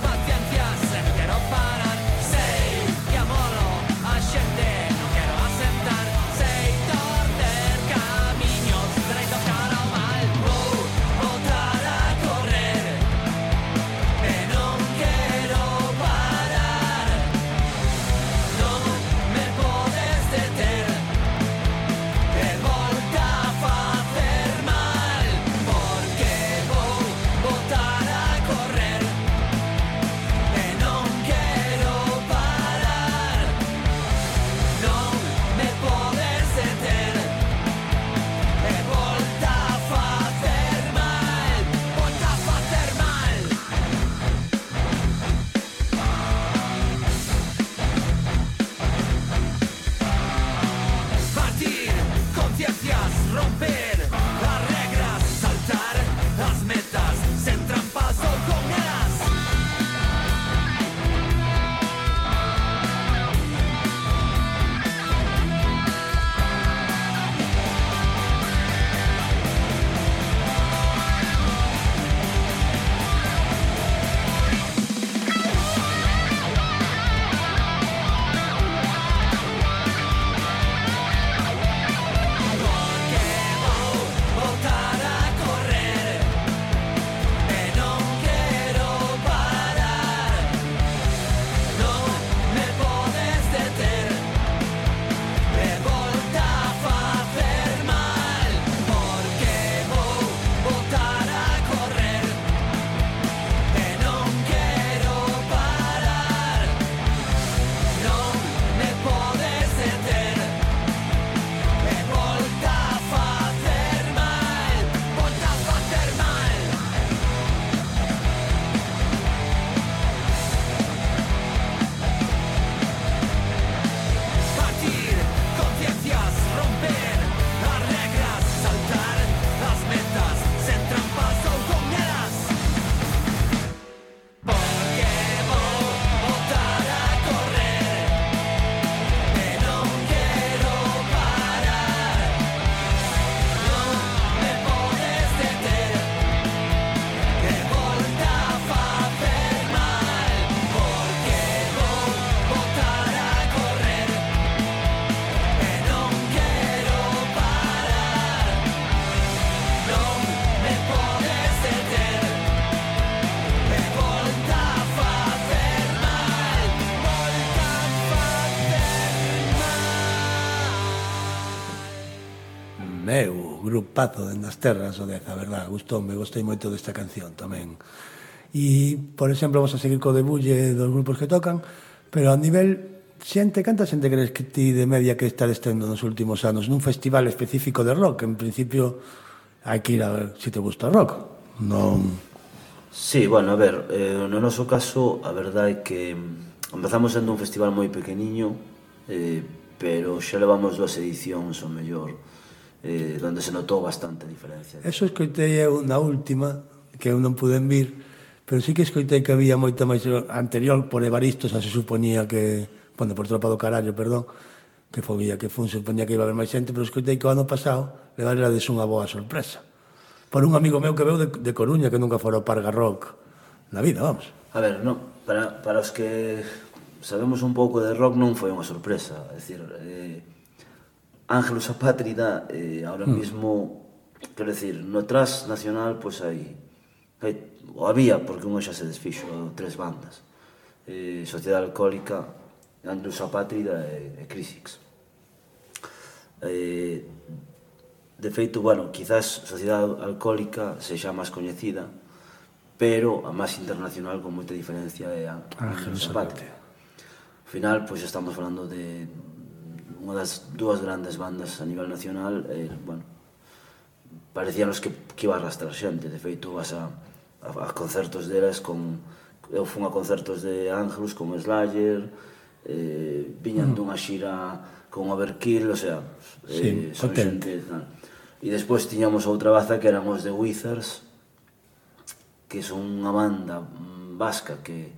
paciencia, se non quero parar. Sei que amolo a xente, non quero asentar. Sei torcer camiños, dereito cara ao mal. Vou botar a correr e non quero parar. grupazo nas terras o Deza, a verdad, gustoume, gostei moito desta canción tamén. E, por exemplo, vamos a seguir co debulle dos grupos que tocan, pero a nivel xente, canta xente crees que ti de media que estades tendo nos últimos anos nun festival específico de rock? En principio hai que ir a ver se te gusta o rock, non... Sí, bueno, a ver, eh, no noso caso a verdade é que empezamos sendo un festival moi pequeniño, eh, pero xa levamos dúas edicións o mellor, eh, donde se notou bastante diferencia. Eso escoitei eu na última, que eu non puden vir, pero sí que escoitei que había moita máis anterior por Evaristo, xa se suponía que, bueno, por Tropa do Carallo, perdón, que foi que fun, se suponía que iba a haber máis xente, pero escoitei que o ano pasado levarades unha boa sorpresa. Por un amigo meu que veu de, de Coruña, que nunca fora o Parga Rock na vida, vamos. A ver, non, para, para os que sabemos un pouco de rock non foi unha sorpresa, é dicir, eh, Ángelus Apátrida, eh, ahora mm. mismo, quero dicir, no tras nacional, pois pues, hai, hai, o había, porque unha xa se desfixo, tres bandas, eh, Sociedade Alcohólica, Ángelus Apátrida e, e Crisix. Eh, De feito, bueno, quizás Sociedade Alcohólica sexa máis coñecida, pero a máis internacional con moita diferencia é a Ángelus Apátrida. Ao final, pois estamos falando de unha das dúas grandes bandas a nivel nacional, e, bueno, parecíanos que, que iba a arrastrar xente. De feito, vas a, a, a concertos delas con... Eu fun a concertos de Ángelus con Slayer, eh, viñan mm. dunha xira con Overkill, o sea, sí, eh, son xente... Tal. E despois tiñamos outra baza que eran os The Wizards, que son unha banda vasca que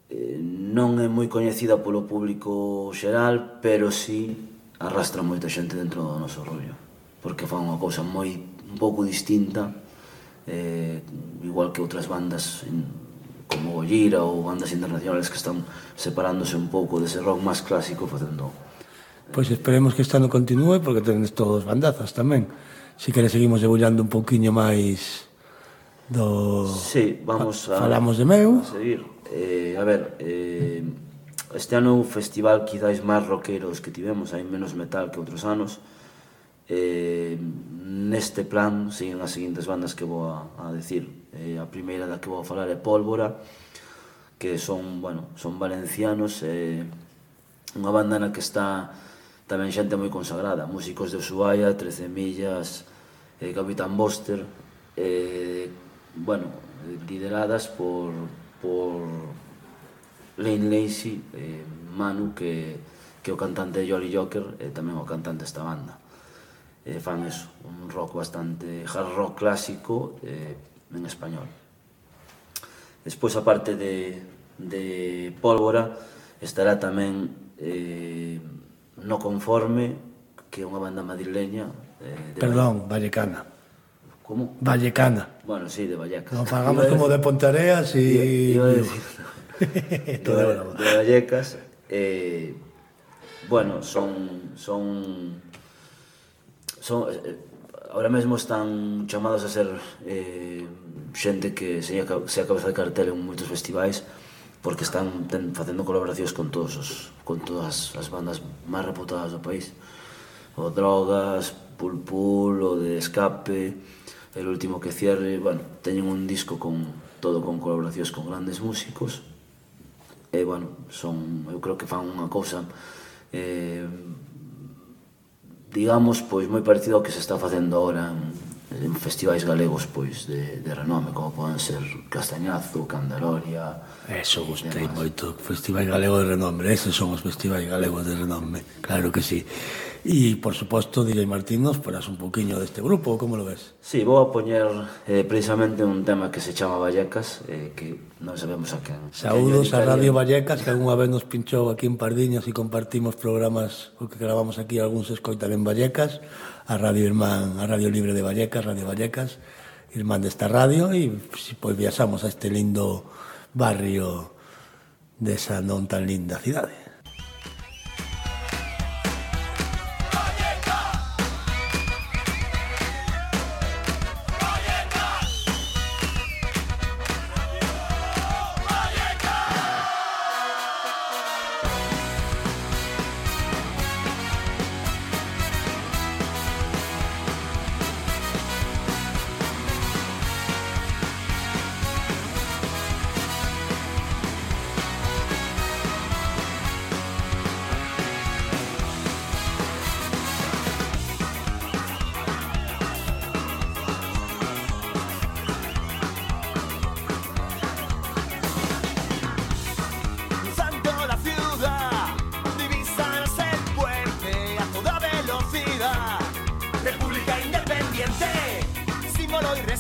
eh, non é moi coñecida polo público xeral, pero sí arrastra moita xente dentro do noso rollo, porque fan unha cousa moi un pouco distinta, eh, igual que outras bandas como Gojira ou bandas internacionales que están separándose un pouco dese rock máis clásico facendo... Pois esperemos que este ano continúe, porque tenes todos bandazas tamén. Si queres seguimos debullando un pouquiño máis do... Sí, vamos a... Falamos de meu. A seguir. Eh, a ver, eh, este ano o festival quizáis máis rockeros que tivemos, hai menos metal que outros anos. Eh, neste plan siguen as seguintes bandas que vou a, a decir. Eh, a primeira da que vou a falar é Pólvora, que son, bueno, son valencianos, eh, unha banda na que está tamén xente moi consagrada, músicos de Ushuaia, trece millas, eh, Capitán Boster, eh, bueno, lideradas por, por Lane Lacey, eh, Manu, que, que é o cantante de Jolly Joker, e tamén o cantante desta banda. Eh, fan eso, un rock bastante hard rock clásico eh, en español. Despois, a parte de, de Pólvora, estará tamén eh, No Conforme, que é unha banda madrileña eh, de Perdón, Vallecana. Como? Vallecana. Bueno, sí, de Vallecas. Nos pagamos como de Pontareas e... Iba a decir, de, de Vallecas. Eh, bueno, son... son, son eh, ahora mesmo están chamados a ser eh, xente que se a cabeza de cartel en moitos festivais, porque están ten, facendo colaboracións con todos os, con todas as bandas máis reputadas do país. O Drogas, Pulpul, o de Escape, el último que cierre, bueno, teñen un disco con todo con colaboracións con grandes músicos. E, bueno, son, eu creo que fan unha cousa eh, digamos, pois moi parecido ao que se está facendo agora en, en festivais galegos, pois, de, de renome, como poden ser Castañazo, Candaloria... Eso, gostei moito, festivais galegos de renome, eses son os festivais galegos de renome, claro que sí. E, por suposto, D J Martín, nos farás un poquinho deste grupo, como lo ves? Sí, vou a poñer eh, precisamente un tema que se chama Vallecas, eh, que non sabemos a quen. Saúdos a Radio Vallecas, que algunha vez nos pinchou aquí en Pardiñas e compartimos programas o que gravamos aquí, algúns se escoitan en Vallecas, a Radio Irmán, a Radio Libre de Vallecas, Radio Vallecas, irmán desta radio, e si, pois viaxamos a este lindo barrio desa non tan linda cidade.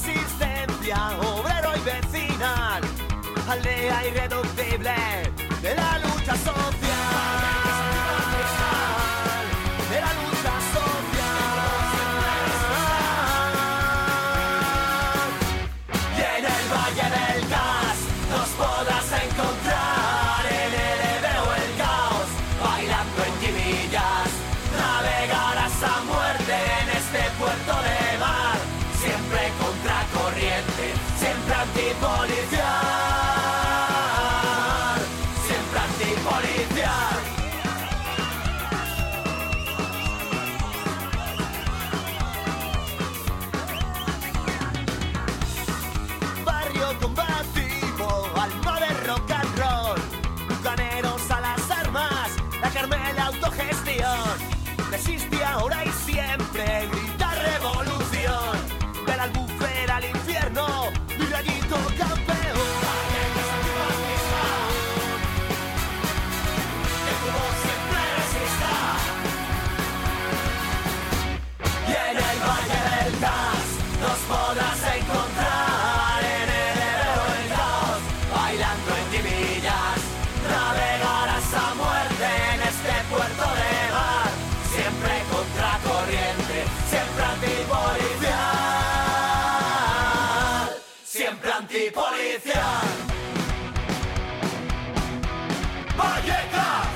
resistencia, obrero y vecinal, aldea irreductible de la lucha social, de la lucha social. Y en el Valle del Gas nos podrás encontrar, en el Ebro el caos, bailando en Givillas, navegarás a muerte en este puerto de mar, siempre contracorriente, siempre antipolicial, siempre antipolicial. Barrio combativo, alma de rock and roll, bucaneros a las armas, la Carmela autogestión, resiste ahora y siempre, grita revolución, de la albufera al infierno, mi rayito campeón. Que tu voz siempre resista. Y en el Valle del Gas nos podrás encontrar, en el Ebro el caos, bailando en Givillas, navegarás a muerte en este puerto de mar, siempre contracorriente, siempre antipolicial, siempre antipolicial. Vallecas,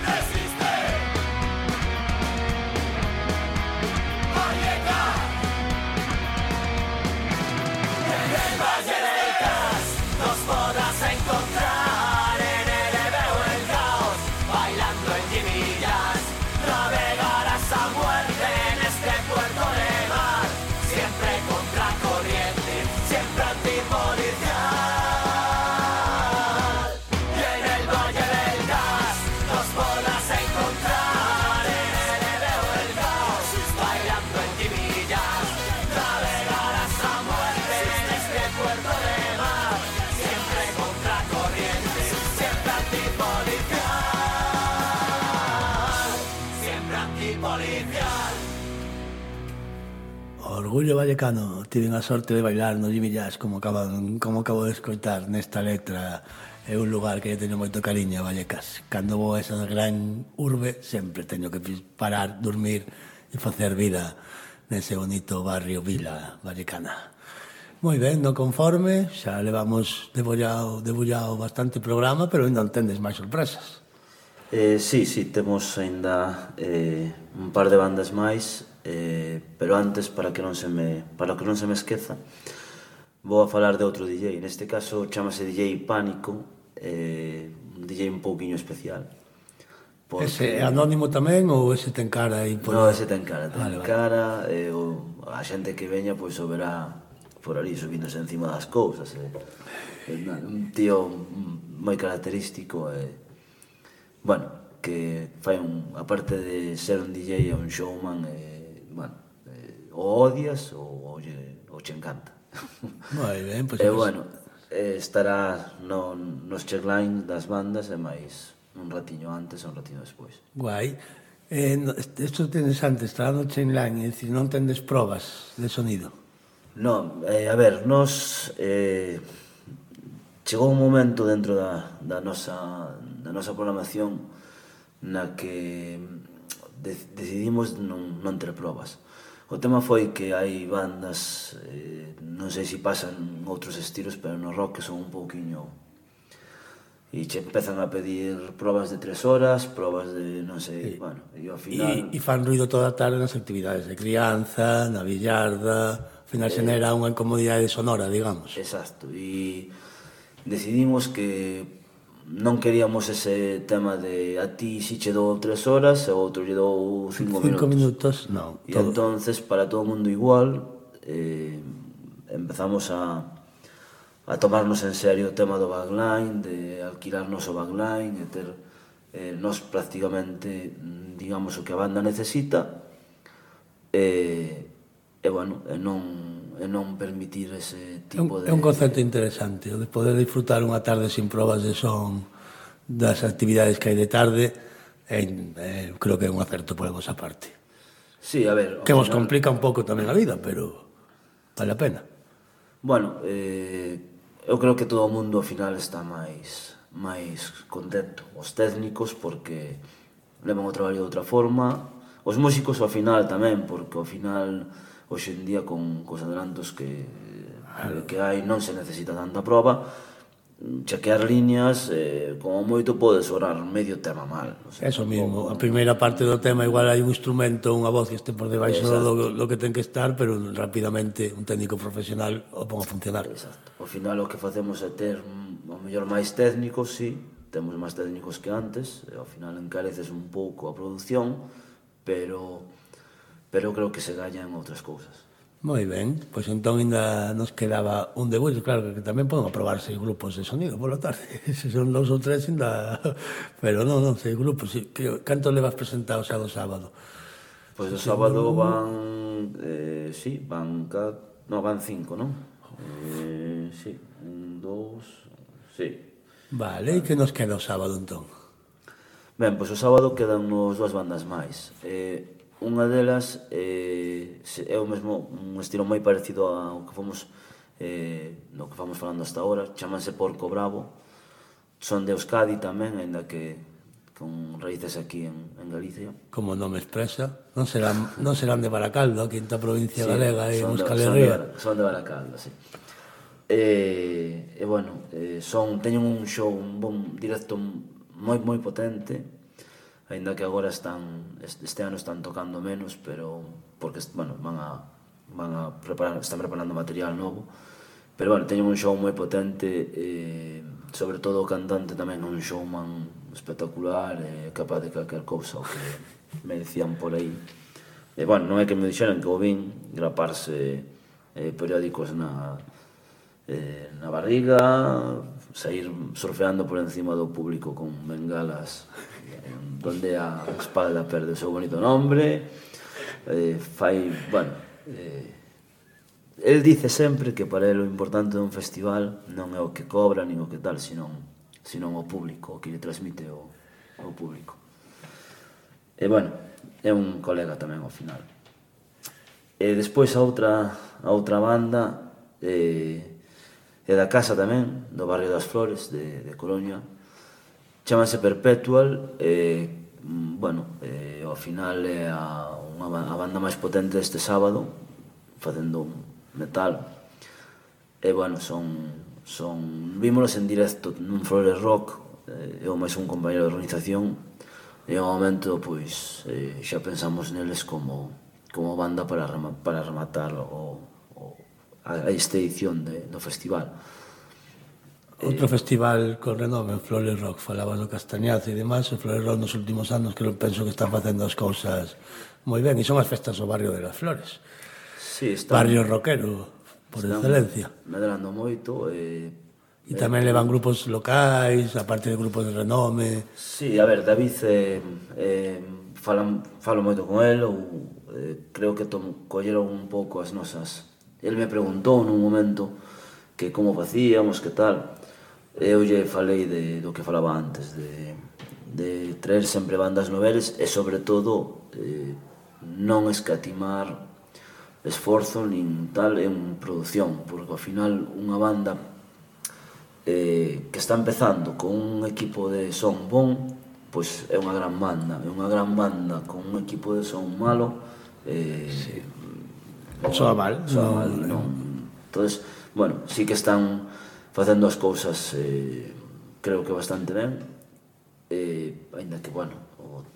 resiste. Vallecas, en el Valle del Gas nos podrás encontrar, en el Ebro el caos, bailando en Givillas, navegarás a muerte en este puerto de mar, siempre contracorriente, siempre antipolicial. Y en el Valle del Gas nos podrás encontrar, en el Ebro el caos, bailando en Givillas, navegarás a muerte en este puerto de mar, siempre contracorriente, siempre antipolicial, siempre antipolicial. Orgullo vallecano, tiven a sorte de bailar no Givillas, como acaban, como acabo de escoitar nesta letra. É un lugar que eu teño moito cariño a Vallecas. Cando vou a esa gran urbe, sempre teño que parar, dormir e facer vida nese bonito barrio Vila Vallecana. Moi ben, no conforme, xa levamos debullado, debullado bastante programa, pero ainda non tendes máis sorpresas. Eh, sí, sí, temos aínda eh, un par de bandas máis, eh, pero antes, para que non se me, para que non se me esqueza, vou a falar de outro D J. Neste caso chamase D J Pánico, eh, un D J un pouquiño especial. Porque... Ese é anónimo tamén ou ese ten cara aí? Por... No, ese ten cara, ten vale, cara, vale. Eh, o, a xente que veña pois o verá por ali subíndose encima das cousas. Eh. Un tío moi característico, eh, bueno, que fai un, aparte de ser un D J, é un showman, eh, bueno, eh, o odias ou, ou, o che encanta. Moi ben, pois... E eh, bueno, eh, estará no, nos checklines das bandas e máis un ratiño antes e un ratiño despois. Guai. Eh, isto é interesante, estará no checkline, é dicir, non tendes probas de sonido? Non, eh, a ver, nos... Eh, chegou un momento dentro da, da, nosa, da nosa programación na que de, decidimos non, non ter probas. O tema foi que hai bandas, eh, non sei se pasan outros estilos, pero no rock que son un pouquiño... E che empezan a pedir probas de tres horas, probas de non sei, e, bueno, e ao final... E, e fan ruido toda a tarde nas actividades de crianza, na billarda, ao final se nera unha incomodidade sonora, digamos. Exacto, e decidimos que non queríamos ese tema de a ti si che dou tres horas e o outro lle dou cinco minutos. Cinco minutos, non. E entonces, para todo o mundo igual, eh, empezamos a, a tomarnos en serio o tema do backline, de alquilarnos o backline, e ter eh, nos prácticamente, digamos, o que a banda necesita, e, e bueno, e non... e non permitir ese tipo de... É un concepto interesante, o de poder disfrutar unha tarde sin probas de son das actividades que hai de tarde, é, é, creo que é un acerto por a vosa parte. Sí, a ver... Que vos final... complica un pouco tamén a vida, pero vale a pena. Bueno, eh, eu creo que todo o mundo ao final está máis máis contento. Os técnicos porque levan o traballo de outra forma, os músicos ao final tamén, porque ao final hoxe en día con cos adelantos que, que hai non se necesita tanta prova, chequear líneas, eh, como moito pode sobrar medio tema mal. O sea, eso mismo, a primeira parte do tema igual hai un instrumento, unha voz que este por debaixo do, do que ten que estar, pero rapidamente un técnico profesional o pon a funcionar. Exacto. Ao final o que facemos é ter ao mellor máis técnicos, sí, temos máis técnicos que antes, e ao final encareces un pouco a produción, pero pero creo que se galla en outras cousas. Moi ben, pois entón ainda nos quedaba un debut, claro que tamén poden aprobar seis grupos de sonido pola tarde, se son dous ou tres ainda, pero non, non, seis grupos, sí. Canto levas presentado xa do sábado? Pois do sábado van, eh, sí, van, no, van cinco, non? Eh, sí, un, dous, sí. Vale, e que nos queda o sábado entón? Ben, pois o sábado quedan nos dúas bandas máis. Eh, Unha delas eh, é o mesmo, un estilo moi parecido ao que fomos eh, no que fomos falando hasta ahora, chamanse Porco Bravo, son de Euskadi tamén, ainda que con raíces aquí en, en Galicia. Como nome expresa, non serán, non serán de Baracaldo, a quinta provincia sí, galega e Euskal Herria. Son de Baracaldo, sí. E, e bueno, eh, son, teñen un show, un bon directo moi moi potente, ainda que agora están este ano están tocando menos, pero porque bueno, van a van a preparar, están preparando material novo. Pero bueno, teñen un show moi potente, eh, sobre todo o cantante tamén un showman espectacular, eh, capaz de calquer cousa o que me decían por aí. E bueno, non é que me dixeran que o vin graparse eh, periódicos na eh, na barriga, sair surfeando por encima do público con bengalas donde a espalda perde o seu bonito nombre, eh, fai, bueno, eh, el dice sempre que para ele o importante dun festival non é o que cobra nin o que tal, senón, senón o público, o que lle transmite o, o público. E bueno, é un colega tamén ao final. E despois a outra, a outra banda eh, é da casa tamén, do barrio das Flores, de, de Coruña, chamase Perpetual, e, bueno, e, ao final é a, unha, a banda máis potente este sábado, facendo metal, e, bueno, son, son vímonos en directo nun Flores Rock, e, eu máis un compañero de organización, e ao momento, pois, e, xa pensamos neles como, como banda para, para rematar o, o, a, a esta edición de, do festival. Outro festival con renome, Flores Rock, falaba no Castañazo e demais, o Flores Rock nos últimos anos que penso que están facendo as cousas moi ben, e son as festas do barrio de las Flores. Sí, están, barrio rockero, por excelencia. Medrando moito, e... E tamén levan grupos locais, aparte de grupos de renome. Sí, a ver, David, eh, eh, falan, falo moito con el, ou eh, creo que tom, colleron un pouco as nosas... El me preguntou nun momento que como facíamos, que tal... Eu lle falei de, do que falaba antes, de, de traer sempre bandas noveles e, sobre todo, eh, non escatimar esforzo nin tal en produción, porque ao final unha banda eh, que está empezando con un equipo de son bon, pois é unha gran banda, é unha gran banda con un equipo de son malo, eh, sí. non, soa mal, soa mal, non. Entonces, bueno, sí que están facendo as cousas, eh, creo que bastante ben, eh, ainda que, bueno,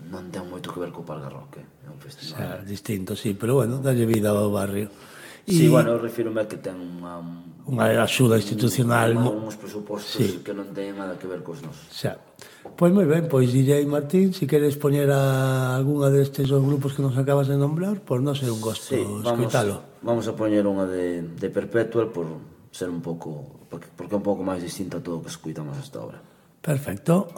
non ten moito que ver co Palgarroque, é un festival. Xa, distinto, sí, pero bueno, dalle vida ao barrio. Sí, bueno, refírome a que ten unha... Unha axuda institucional. Un, uns presupostos sí. que non teñen nada que ver cos nosos. Xa. Pois moi ben, pois D J Martín, se si queres poñer a alguna destes dos grupos que nos acabas de nombrar, pois non sei un gosto sí, escoitalo. Vamos a poñer unha de, de Perpetual por ser un pouco, porque, porque é un pouco máis distinta a todo o que escoitamos hasta ahora. Perfecto.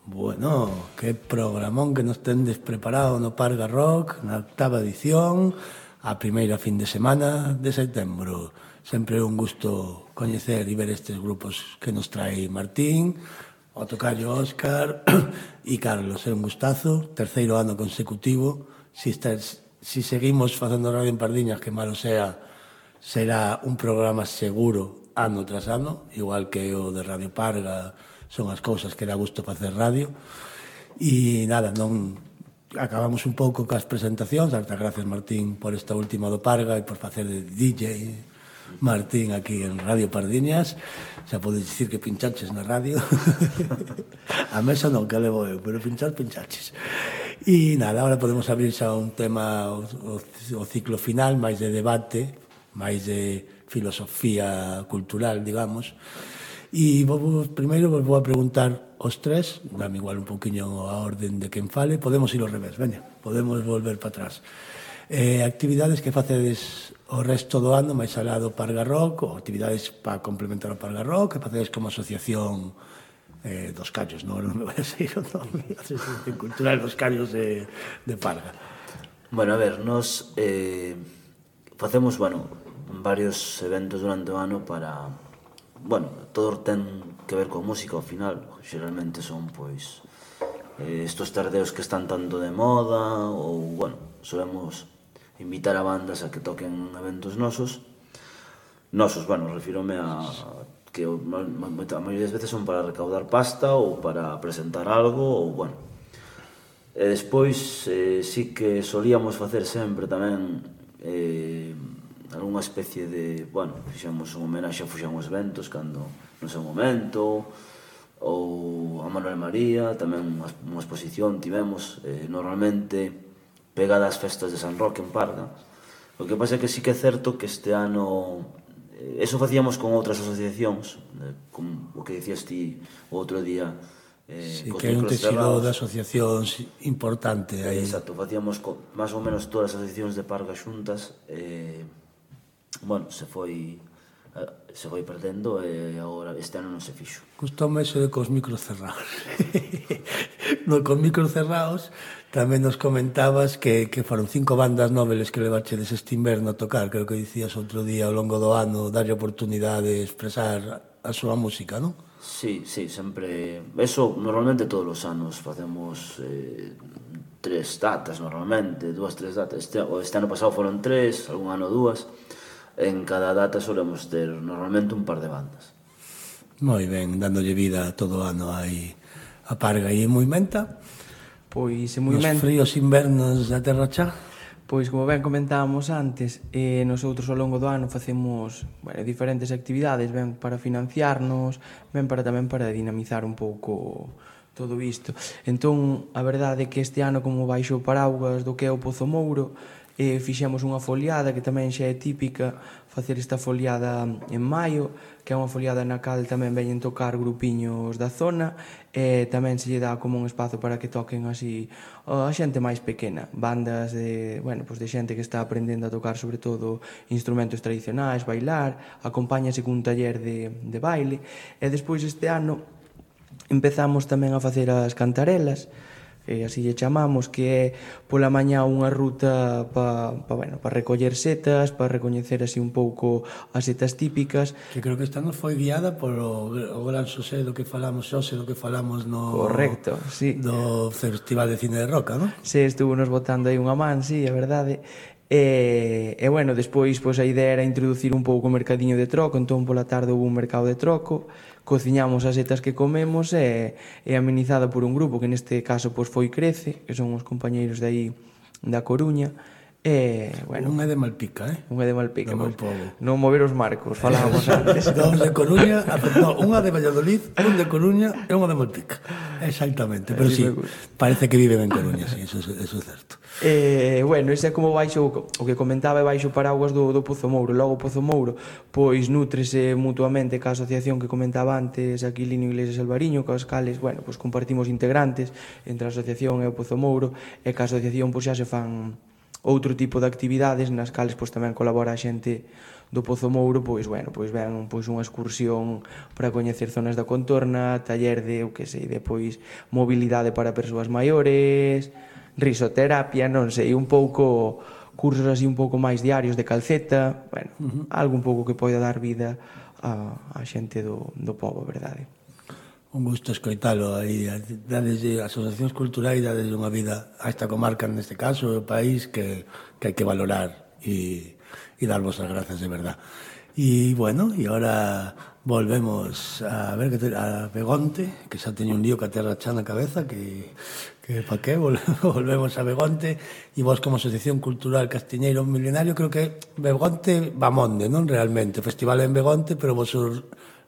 Bueno, que programón que nos tendes preparado no Parga Rock, na octava edición, a primeira fin de semana de setembro. Sempre é un gusto coñecer e ver estes grupos que nos trae Martín, o tocayo Óscar e Carlos. É un gustazo, terceiro ano consecutivo. Si, estás, si seguimos facendo radio en Pardiñas, que malo sea, será un programa seguro ano tras ano, igual que o de Radio Parga. Son as cousas que dá gusto facer radio. E nada, non acabamos un pouco cas presentacións. Darte gracias, Martín, por esta última do Parga e por facer de D J Martín aquí en Radio Pardiñas. Xa podes dicir que pinchaches na radio. A mesa non, que levo eu, pero pinchar, pinchaches. E nada, agora podemos abrir xa un tema, o, o, o ciclo final, máis de debate, máis de filosofía cultural, digamos. E vos, primeiro vos vou a preguntar os tres, dame igual un poquinho a orden de quen fale, podemos ir ao revés, veña, podemos volver para atrás. Eh, actividades que facedes o resto do ano, máis alá do Parga Rock, ou actividades para complementar o Parga Rock, que facedes como asociación eh, dos callos, non, non me vai a seguir o nome, asociación cultural dos callos de, de Parga. Bueno, a ver, nos eh, facemos, bueno, varios eventos durante o ano para... Bueno, todo ten que ver con música ao final. Xeralmente son, pois, eh, estos tardeos que están tanto de moda, ou, bueno, solemos invitar a bandas a que toquen eventos nosos. Nosos, bueno, refírome a que a maioría das veces son para recaudar pasta ou para presentar algo, ou, bueno. E despois, eh, sí que solíamos facer sempre tamén... Eh, algunha especie de, bueno, fixemos un homenaxe a Fuxamos Ventos cando no seu momento, ou a Manuel María, tamén unha, unha exposición tivemos, eh, normalmente pegada ás festas de San Roque en Parga. O que pasa é que sí que é certo que este ano, eh, eso facíamos con outras asociacións, eh, con o que dicías ti o outro día, eh, sí, que é un tecido de asociacións importante aí. Exacto, facíamos con, máis ou menos todas as asociacións de Parga xuntas, eh, bueno, se foi se foi perdendo e agora este ano non se fixo. Gustoume eso de cos micros cerrados. No, con micros cerrados tamén nos comentabas que, que foron cinco bandas noveles que levachedes este inverno a tocar, creo que dicías outro día ao longo do ano, darlle oportunidade de expresar a súa música, non? Sí, sí, sempre... Eso normalmente todos os anos facemos eh, tres datas normalmente, dúas, tres datas. Este, este ano pasado foron tres, algún ano dúas. En cada data solemos ter normalmente un par de bandas. Moi ben, dándolle vida todo o ano aí a Parga e en Muimenta. Pois en Muimenta... Nos fríos invernos da Terra Chá. Pois como ben comentábamos antes, eh, nosotros ao longo do ano facemos bueno, diferentes actividades, ben para financiarnos, ben para tamén para dinamizar un pouco todo isto. Entón, a verdade é que este ano, como baixo o paraugas do que é o Pozo Mouro, eh, fixemos unha foliada que tamén xa é típica facer esta foliada en maio, que é unha foliada na cal tamén veñen tocar grupiños da zona e tamén se lle dá como un espazo para que toquen así a xente máis pequena, bandas de, bueno, pues de xente que está aprendendo a tocar sobre todo instrumentos tradicionais, bailar, acompáñase cun taller de, de baile e despois este ano empezamos tamén a facer as cantarelas, e así lle chamamos, que é pola mañá unha ruta para pa, bueno, pa recoller setas, para recoñecer así un pouco as setas típicas. Que creo que esta nos foi guiada por o, o gran Xosé do que falamos xose, do que falamos no... Correcto, sí. Do Festival de Cine de Roca, non? Sí, estuvo nos botando aí unha man, sí, a verdade. E, e bueno, despois pois, a idea era introducir un pouco o mercadiño de troco, entón pola tarde houve un mercado de troco, cociñamos as setas que comemos e, e amenizada por un grupo que neste caso pois, foi Crece, que son os compañeiros de aí da Coruña. E, bueno, un é de Malpica, eh? Un é de Malpica, no pois, non mover os marcos, falábamos antes. Dous de Coruña, no, unha de Valladolid, un de Coruña e unha de Malpica. Exactamente, pero sí, parece que viven en Coruña, sí, eso, eso é certo. Eh, bueno, ese é como baixo o que comentaba é baixo paraguas do, do Pozo Mouro. Logo o Pozo Mouro pois nútrese mutuamente ca asociación que comentaba antes, Aquilino Iglesias Alvariño, cos cales, bueno, pois compartimos integrantes entre a asociación e o Pozo Mouro, e ca asociación pois xa se fan outro tipo de actividades nas cales pois tamén colabora a xente do Pozo Mouro, pois bueno, pois ven pois unha excursión para coñecer zonas da contorna, taller de, eu que sei, de pois mobilidade para persoas maiores, risoterapia, non sei, un pouco cursos así un pouco máis diarios de calceta, bueno, uh-huh. algo un pouco que poida dar vida a, a xente do, do pobo, verdade. Un gusto escoitalo aí, desde asociacións culturais, desde unha vida a esta comarca, neste caso, o país, que, que hai que valorar e e darvos as grazas de verdad. E, bueno, e agora volvemos a ver que te, a Begonte, que xa teño un lío que a terra xa na cabeza, que, que pa que volvemos a Begonte, e vos como Asociación Cultural Castiñeiro Milenario, creo que Begonte Bamonde, non realmente, o festival en Begonte, pero vos o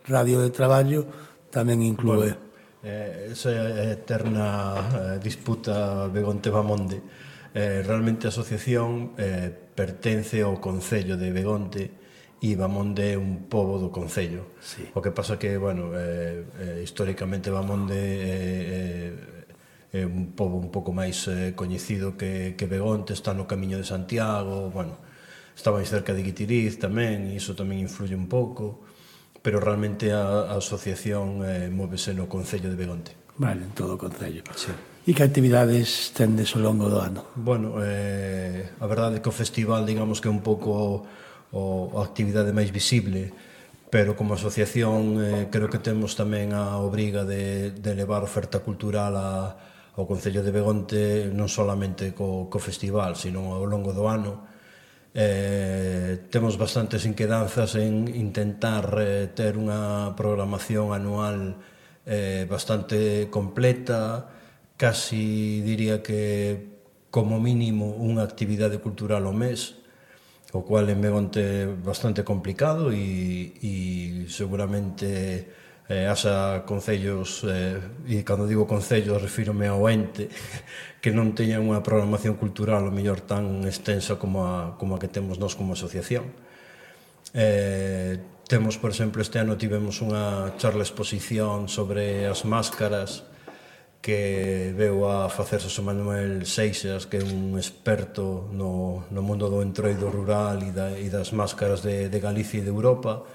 radio de traballo tamén inclúe. Bueno, eh, esa eterna eh, disputa Begonte-Bamonde. Eh, realmente a asociación eh, pertence ao Concello de Begonte e Bamonde é un pobo do Concello. Sí. O que pasa que, bueno, eh, eh, históricamente Bamonde é, é, é un pobo un pouco máis eh, coñecido que, que Begonte, está no Camiño de Santiago, bueno, está máis cerca de Guitiriz tamén, e iso tamén influye un pouco, pero realmente a, a asociación eh, móvese no Concello de Begonte. Vale, en todo o Concello. Sí. E que actividades tendes ao longo do ano? Bueno, eh, a verdade é que o festival, digamos que é un pouco o, a actividade máis visible, pero como asociación eh, creo que temos tamén a obriga de, de levar oferta cultural a, ao Concello de Begonte, non solamente co, co festival, sino ao longo do ano. Eh, temos bastantes inquedanzas en intentar eh, ter unha programación anual eh, bastante completa, casi diría que como mínimo unha actividade cultural ao mes, o cual en Begonte é bastante complicado e, e seguramente eh, haxa concellos, eh, e cando digo concellos refírome ao ente, que non teñan unha programación cultural o mellor tan extensa como a, como a que temos nós como asociación. Eh, temos, por exemplo, este ano tivemos unha charla exposición sobre as máscaras que veu a facer Xosé Manuel Seixas, que é un experto no, no mundo do entroido rural e, da, e das máscaras de, de Galicia e de Europa.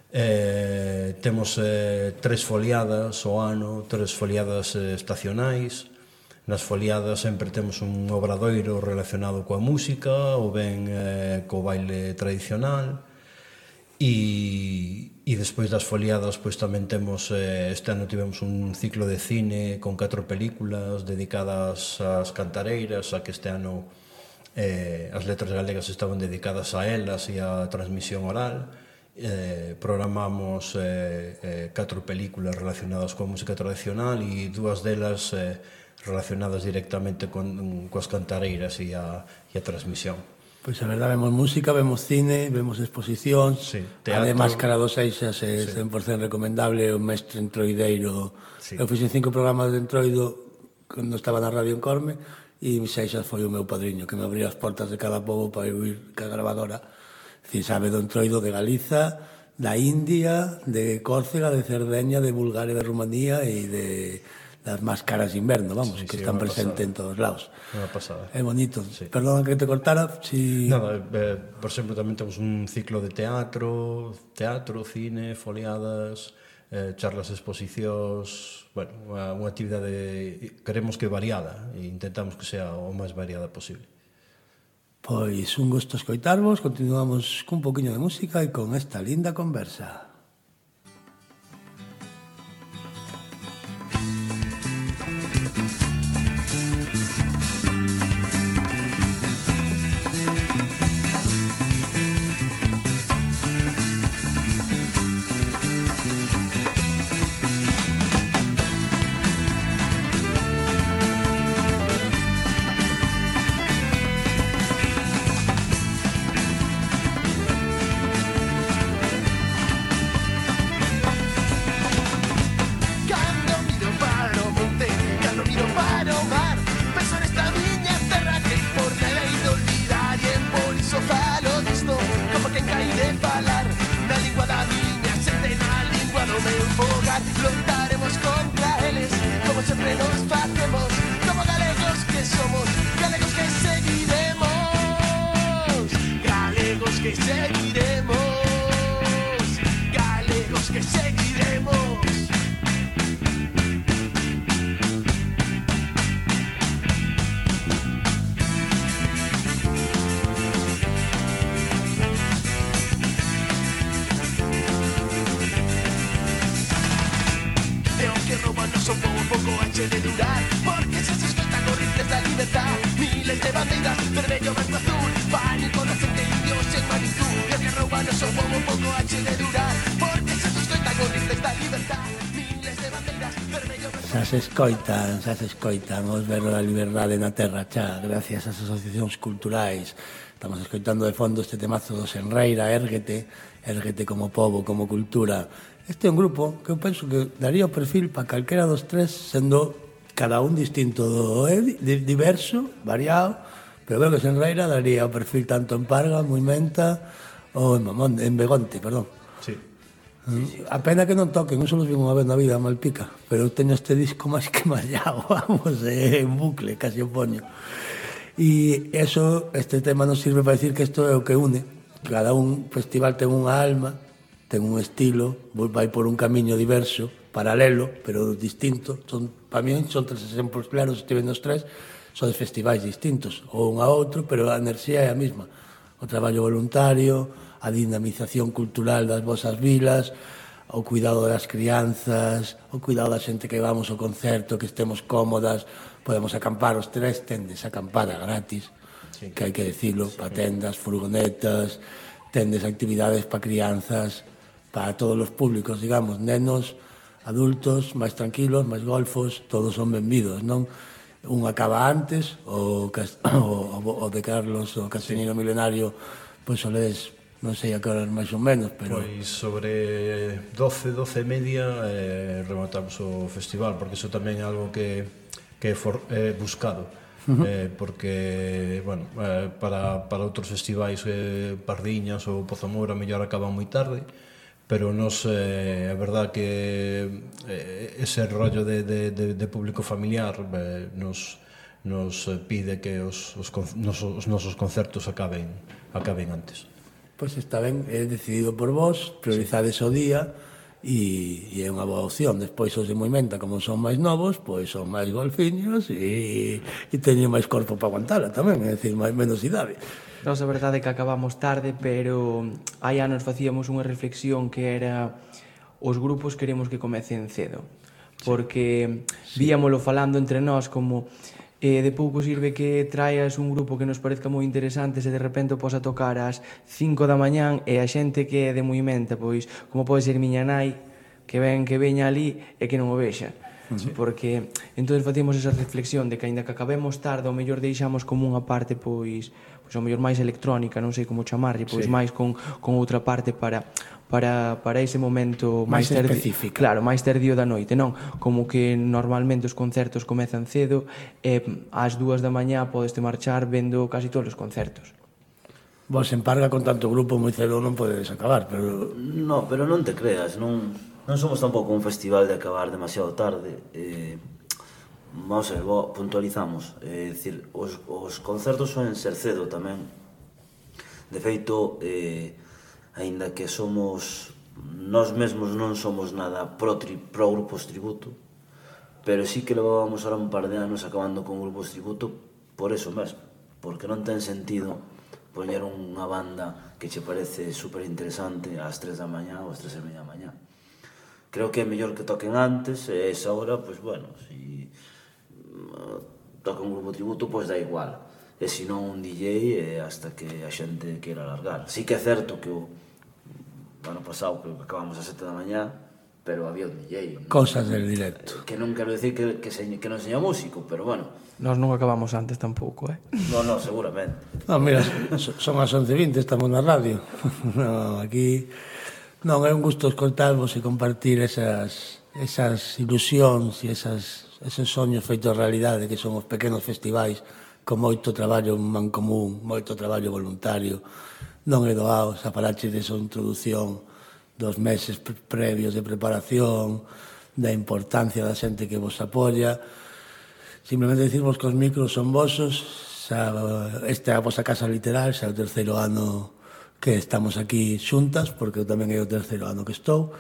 Eh, temos eh, tres foliadas ao ano, tres foliadas eh, estacionais. Nas foliadas sempre temos un obradoiro relacionado coa música ou ben eh, co baile tradicional. E, e despois das foliadas pois tamén temos, eh, este ano tivemos un ciclo de cine con catro películas dedicadas ás cantareiras, a que este ano eh, as letras galegas estaban dedicadas a elas e á transmisión oral. Eh, programamos eh, eh, catro películas relacionadas coa música tradicional e dúas delas eh, relacionadas directamente con, coas cantareiras e a, e a transmisión. Pois a verdade, vemos música, vemos cine, vemos exposicións, sí, a de Máscara dos Seixas é sí. cen por cento recomendable, o mestre entroideiro. Sí. Eu fixen cinco programas de entroido cando estaba na radio en Corme e Seixas foi o meu padriño, que me abría as portas de cada pobo para eu ir ca grabadora. Si sabe do entroido de Galiza, da India, de Córcega, de Cerdeña, de Bulgaria, de Rumanía e de das máscaras de inverno, vamos, sí, que sí, están presentes en todos lados. Unha pasada. É bonito. Sí. Perdón que te cortara. Si... Nada, eh, por exemplo, tamén temos un ciclo de teatro, teatro, cine, foliadas, eh, charlas, exposicións, bueno, unha, unha actividade, queremos que variada, e intentamos que sea o máis variada posible. Pois un gusto escoitarvos, continuamos cun poquinho de música e con esta linda conversa. Lutaremos contra eles, como sempre nos facemos, como galegos que somos, galegos que seguiremos. son como un pouco anche de durar, porque se se escoitan os rifles da libertad, miles de bandeiras, vermello, branco, azul, pánico na xente indios en Manitú, e os que rouban son como un pouco anche de durar, porque se se escoitan os rifles da libertad, miles de bandeiras, vermello, branco, Xa se escoitan, xa se escoitan os berros da liberdade na terra, xa, gracias ás asociacións culturais. Estamos escoitando de fondo este temazo do Senreira, Érguete, Érguete como pobo, como cultura. Este é un grupo que eu penso que daría o perfil para calquera dos tres, sendo cada un distinto, do, eh, diverso, variado, pero creo que Senreira daría o perfil tanto en Parga, Muimenta ou en Mamón, en Begonte, perdón. Sí. Sí, sí. A pena que non toquen, non só los vi unha vez na vida a Malpica, pero eu teño este disco máis que mallado, vamos, eh, en bucle, casi o poño. E eso, este tema nos sirve para decir que isto é o que une. Cada un festival ten unha alma, ten un estilo, vai por un camiño diverso, paralelo, pero distinto. Son, para mí son tres exemplos claros, estive nos tres, son de festivais distintos, ou un a outro, pero a enerxía é a mesma. O traballo voluntario, a dinamización cultural das vosas vilas, o cuidado das crianzas, o cuidado da xente que vamos ao concerto, que estemos cómodas, podemos acampar os tres, tendes acampada gratis, sí, que hai que decirlo, sí, para tendas, furgonetas, tendes actividades para crianzas, para todos os públicos, digamos, nenos, adultos, máis tranquilos, máis golfos, todos son benvidos, non? Un acaba antes, o, o, o de Carlos, o Castellino Milenario, pois soledes, non sei a que horas máis ou menos, pero... Pois sobre doce, doce e media eh, rematamos o festival, porque iso tamén é algo que, que é for, eh, buscado, uh-huh. eh, porque, bueno, eh, para, para outros festivais, eh, Pardiñas ou Pozamora, mellor acaban moi tarde, pero nos, eh, a verdad que eh, ese rollo de, de, de, de público familiar eh, nos, nos pide que os, os, nos, os nosos concertos acaben, acaben antes. Pois está ben, é decidido por vos, priorizades o día e, e é unha boa opción. Despois os de Moimenta, como son máis novos, pois son máis golfiños e, e teñen máis corpo para aguantala tamén, é dicir, máis menos idade. Nos a verdade é que acabamos tarde, pero hai anos facíamos unha reflexión que era os grupos queremos que comecen cedo, porque sí, víamolo falando entre nós como eh, de pouco sirve que traas un grupo que nos parezca moi interesante se de repente o pos a tocar ás cinco da mañán e a xente que é de Moimenta, pois como pode ser miña nai que ven que veña ali e que non o vexa. Sí. Porque entón facíamos esa reflexión de que aínda que acabemos tarde ao mellor deixamos como unha parte pois pois ao mellor máis electrónica, non sei como chamarlle, pois sí, máis con, con outra parte para para, para ese momento máis, máis específica. Claro, máis tardío da noite, non? Como que normalmente os concertos comezan cedo e ás dúas da mañá podes te marchar vendo casi todos os concertos. Vos en Parga con tanto grupo moi cedo non podedes acabar, pero... No, pero non te creas, non, non somos tampouco un festival de acabar demasiado tarde. Eh, vamos a ver, puntualizamos. É eh, dicir, os, os concertos soen ser cedo tamén. De feito, eh, aínda que somos nós mesmos non somos nada pro, tri, pro grupos tributo, pero sí que levábamos ahora un par de anos acabando con grupos tributo por eso mesmo, porque non ten sentido poñer unha banda que che parece super interesante ás tres da mañá ou ás tres e media da mañá. Creo que é mellor que toquen antes e esa hora, pois bueno, si uh, toca un grupo tributo, pois dá igual, e se non un D J e hasta que a xente queira largar. Sí que é certo que o ano pasado que acabamos a sete da mañá, pero había un D J. Cosas del directo. Que non quero dicir que, que, se, que non seña músico, pero bueno. Nós non acabamos antes tampouco, eh? No, no, seguramente. No, mira, son as once e vinte, estamos na radio. No, aquí... Non, é un gusto escoltarvos e compartir esas, esas ilusións e esas, esos soños feitos realidade que son os pequenos festivais con moito traballo en mancomún, moito traballo voluntario. Non é doado, xa falaches desa introducción dos meses pre previos de preparación, da importancia da xente que vos apoia. Simplemente dicirvos que os micros son vosos, xa, esta é a vosa casa literal, xa é o terceiro ano que estamos aquí xuntas, porque eu tamén é o terceiro ano que estou,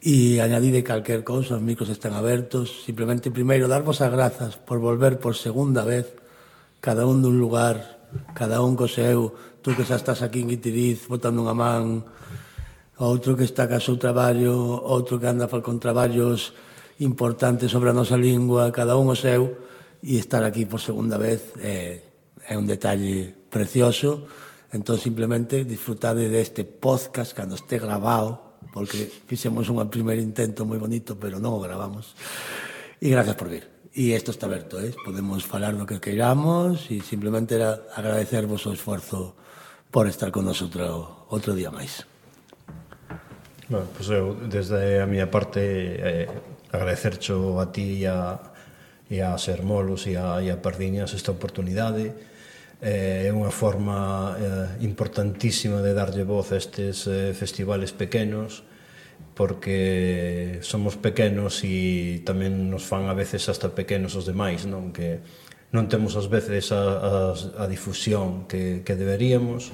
e añadide calquer cousa, os micros están abertos. Simplemente, primeiro, darvos as grazas por volver por segunda vez, cada un dun lugar, cada un co seu, tú que xa estás aquí en Guitiriz, botando unha man, outro que está ca seu traballo, outro que anda con traballos importante sobre a nosa lingua, cada un o seu, e estar aquí por segunda vez é, é un detalle precioso. Entón, simplemente, disfrutade deste podcast cando este grabado, porque fixemos un primer intento moi bonito, pero non o gravamos. E gracias por vir. E isto está aberto, eh? Podemos falar do que queiramos e simplemente era agradecervos o esforzo por estar con nosotros outro día máis. Bueno, pois eu, desde a miña parte, eh, agradecercho a ti e a, e a Sermolos e a, e a Pardiñas esta oportunidade. É unha forma eh, importantísima de darlle voz a estes eh, festivales pequenos, porque somos pequenos e tamén nos fan a veces hasta pequenos os demais, non? Que non temos ás veces a, a, a difusión que, que deberíamos.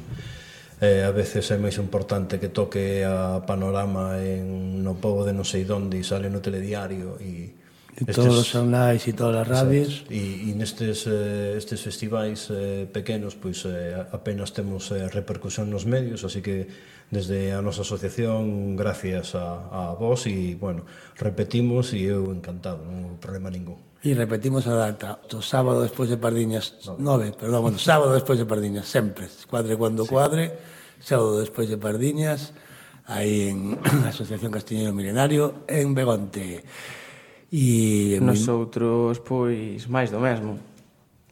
Eh, a veces é máis importante que toque a Panorama en, no pobo de non sei donde e sale no telediario e e todos os xornais e todas as radios. E, e nestes eh, estes festivais eh, pequenos, pois eh, apenas temos eh, repercusión nos medios, así que desde a nosa asociación, gracias a, a vos, e, bueno, repetimos, e eu encantado, non hai problema ningún. E repetimos a data, o sábado despois de Pardiñas, nove, perdón, bueno, sábado despois de Pardiñas, sempre, cuadre cuando cuadre, sábado despois de Pardiñas, aí en a Asociación Castiñeiro Milenario, en Begonte. E nos outros, pois, máis do mesmo.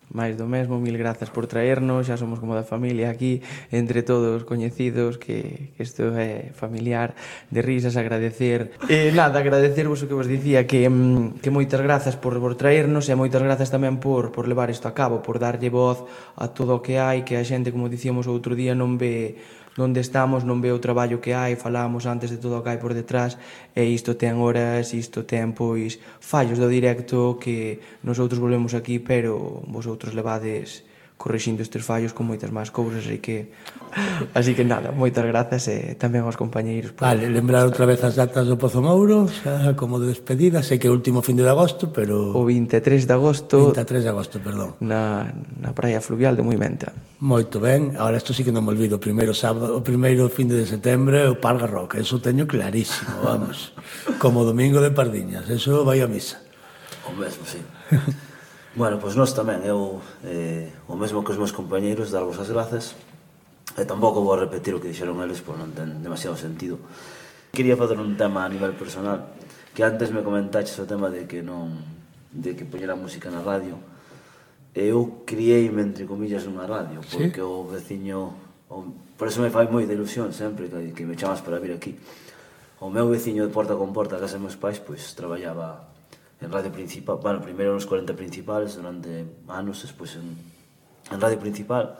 Máis do mesmo, mil grazas por traernos, xa somos como da familia aquí, entre todos coñecidos, que, que isto é familiar, de risas, agradecer. E nada, agradecervos o que vos dicía, que, que moitas grazas por, por traernos, e moitas grazas tamén por, por levar isto a cabo, por darlle voz a todo o que hai, que a xente, como dicíamos outro día, non ve onde estamos, non ve o traballo que hai, falábamos antes de todo o que hai por detrás, e isto ten horas, isto ten, pois, fallos do directo que nosotros volvemos aquí, pero vosotros levades corrixindo estes fallos con moitas máis cousas, así que así que nada, moitas grazas e tamén aos compañeiros. Vale, lembrar outra vez as datas do Pozo Mouro, xa como de despedida, sei que é o último fin de agosto, pero o vinte e tres de agosto, vinte e tres de agosto, perdón, na, na praia fluvial de Muimenta. Moito ben, agora isto sí que non me olvido, o primeiro sábado, o primeiro fin de setembro é o Parga Rock, eso teño clarísimo, vamos, como domingo de Pardiñas, eso vai a misa. O mesmo, sí. Bueno, pois nós tamén, eu eh, o mesmo que os meus compañeiros, darvos as grazas, e tampouco vou repetir o que dixeron eles, pois non ten demasiado sentido. Quería fazer un tema a nivel personal, que antes me comentaches o tema de que non, de que poñera música na radio. Eu criei-me, entre comillas, nunha radio, porque ¿sí? O veciño, o, por eso me fai moi de ilusión sempre que, que me chamas para vir aquí. O meu veciño de porta con porta, a casa dos meus pais, pois traballaba en Radio Principal, bueno, primeiro nos cuarenta Principales durante anos, despois en, en Radio Principal,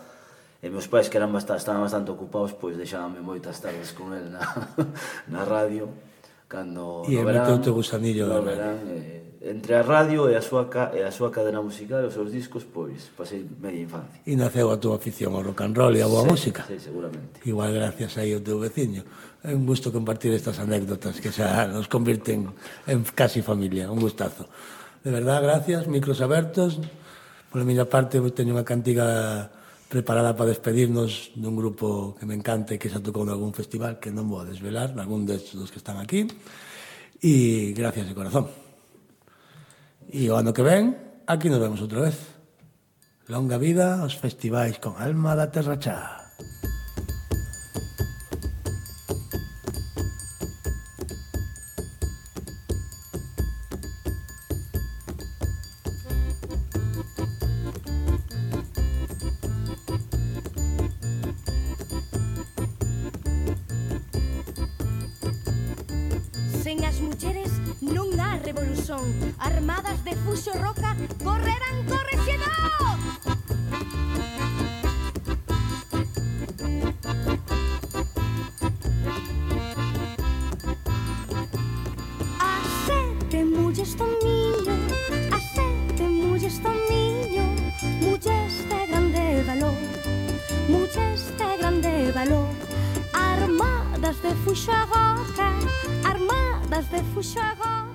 e meus pais que eran bastante, estaban bastante ocupados, pois deixábanme moitas tardes con el na, na radio, cando e no verán, e gusanillo no verán, eh, entre a radio e a súa e a súa cadena musical e os seus discos, pois pasei media infancia. E naceu a túa afición ao rock and roll e a boa sí, música. Sí, seguramente. Igual gracias aí ao teu veciño. É un gusto compartir estas anécdotas que xa nos convirten en casi familia, un gustazo. De verdad, gracias, micros abertos. Por a miña parte, teño unha cantiga preparada para despedirnos dun grupo que me encanta e que xa tocou en algún festival que non vou a desvelar, algún destes que están aquí. E gracias de corazón. E o ano que ven, aquí nos vemos outra vez. Longa vida aos festivais con alma da terra chá. Sen as mulleres non há revolución. Armadas de fuxo roca correrán correxedor. A sete mulles do miño, a sete mulles do miño, mulles de grande valor, mulles de grande valor, armadas de fuxo roca, armadas de fuxo roca.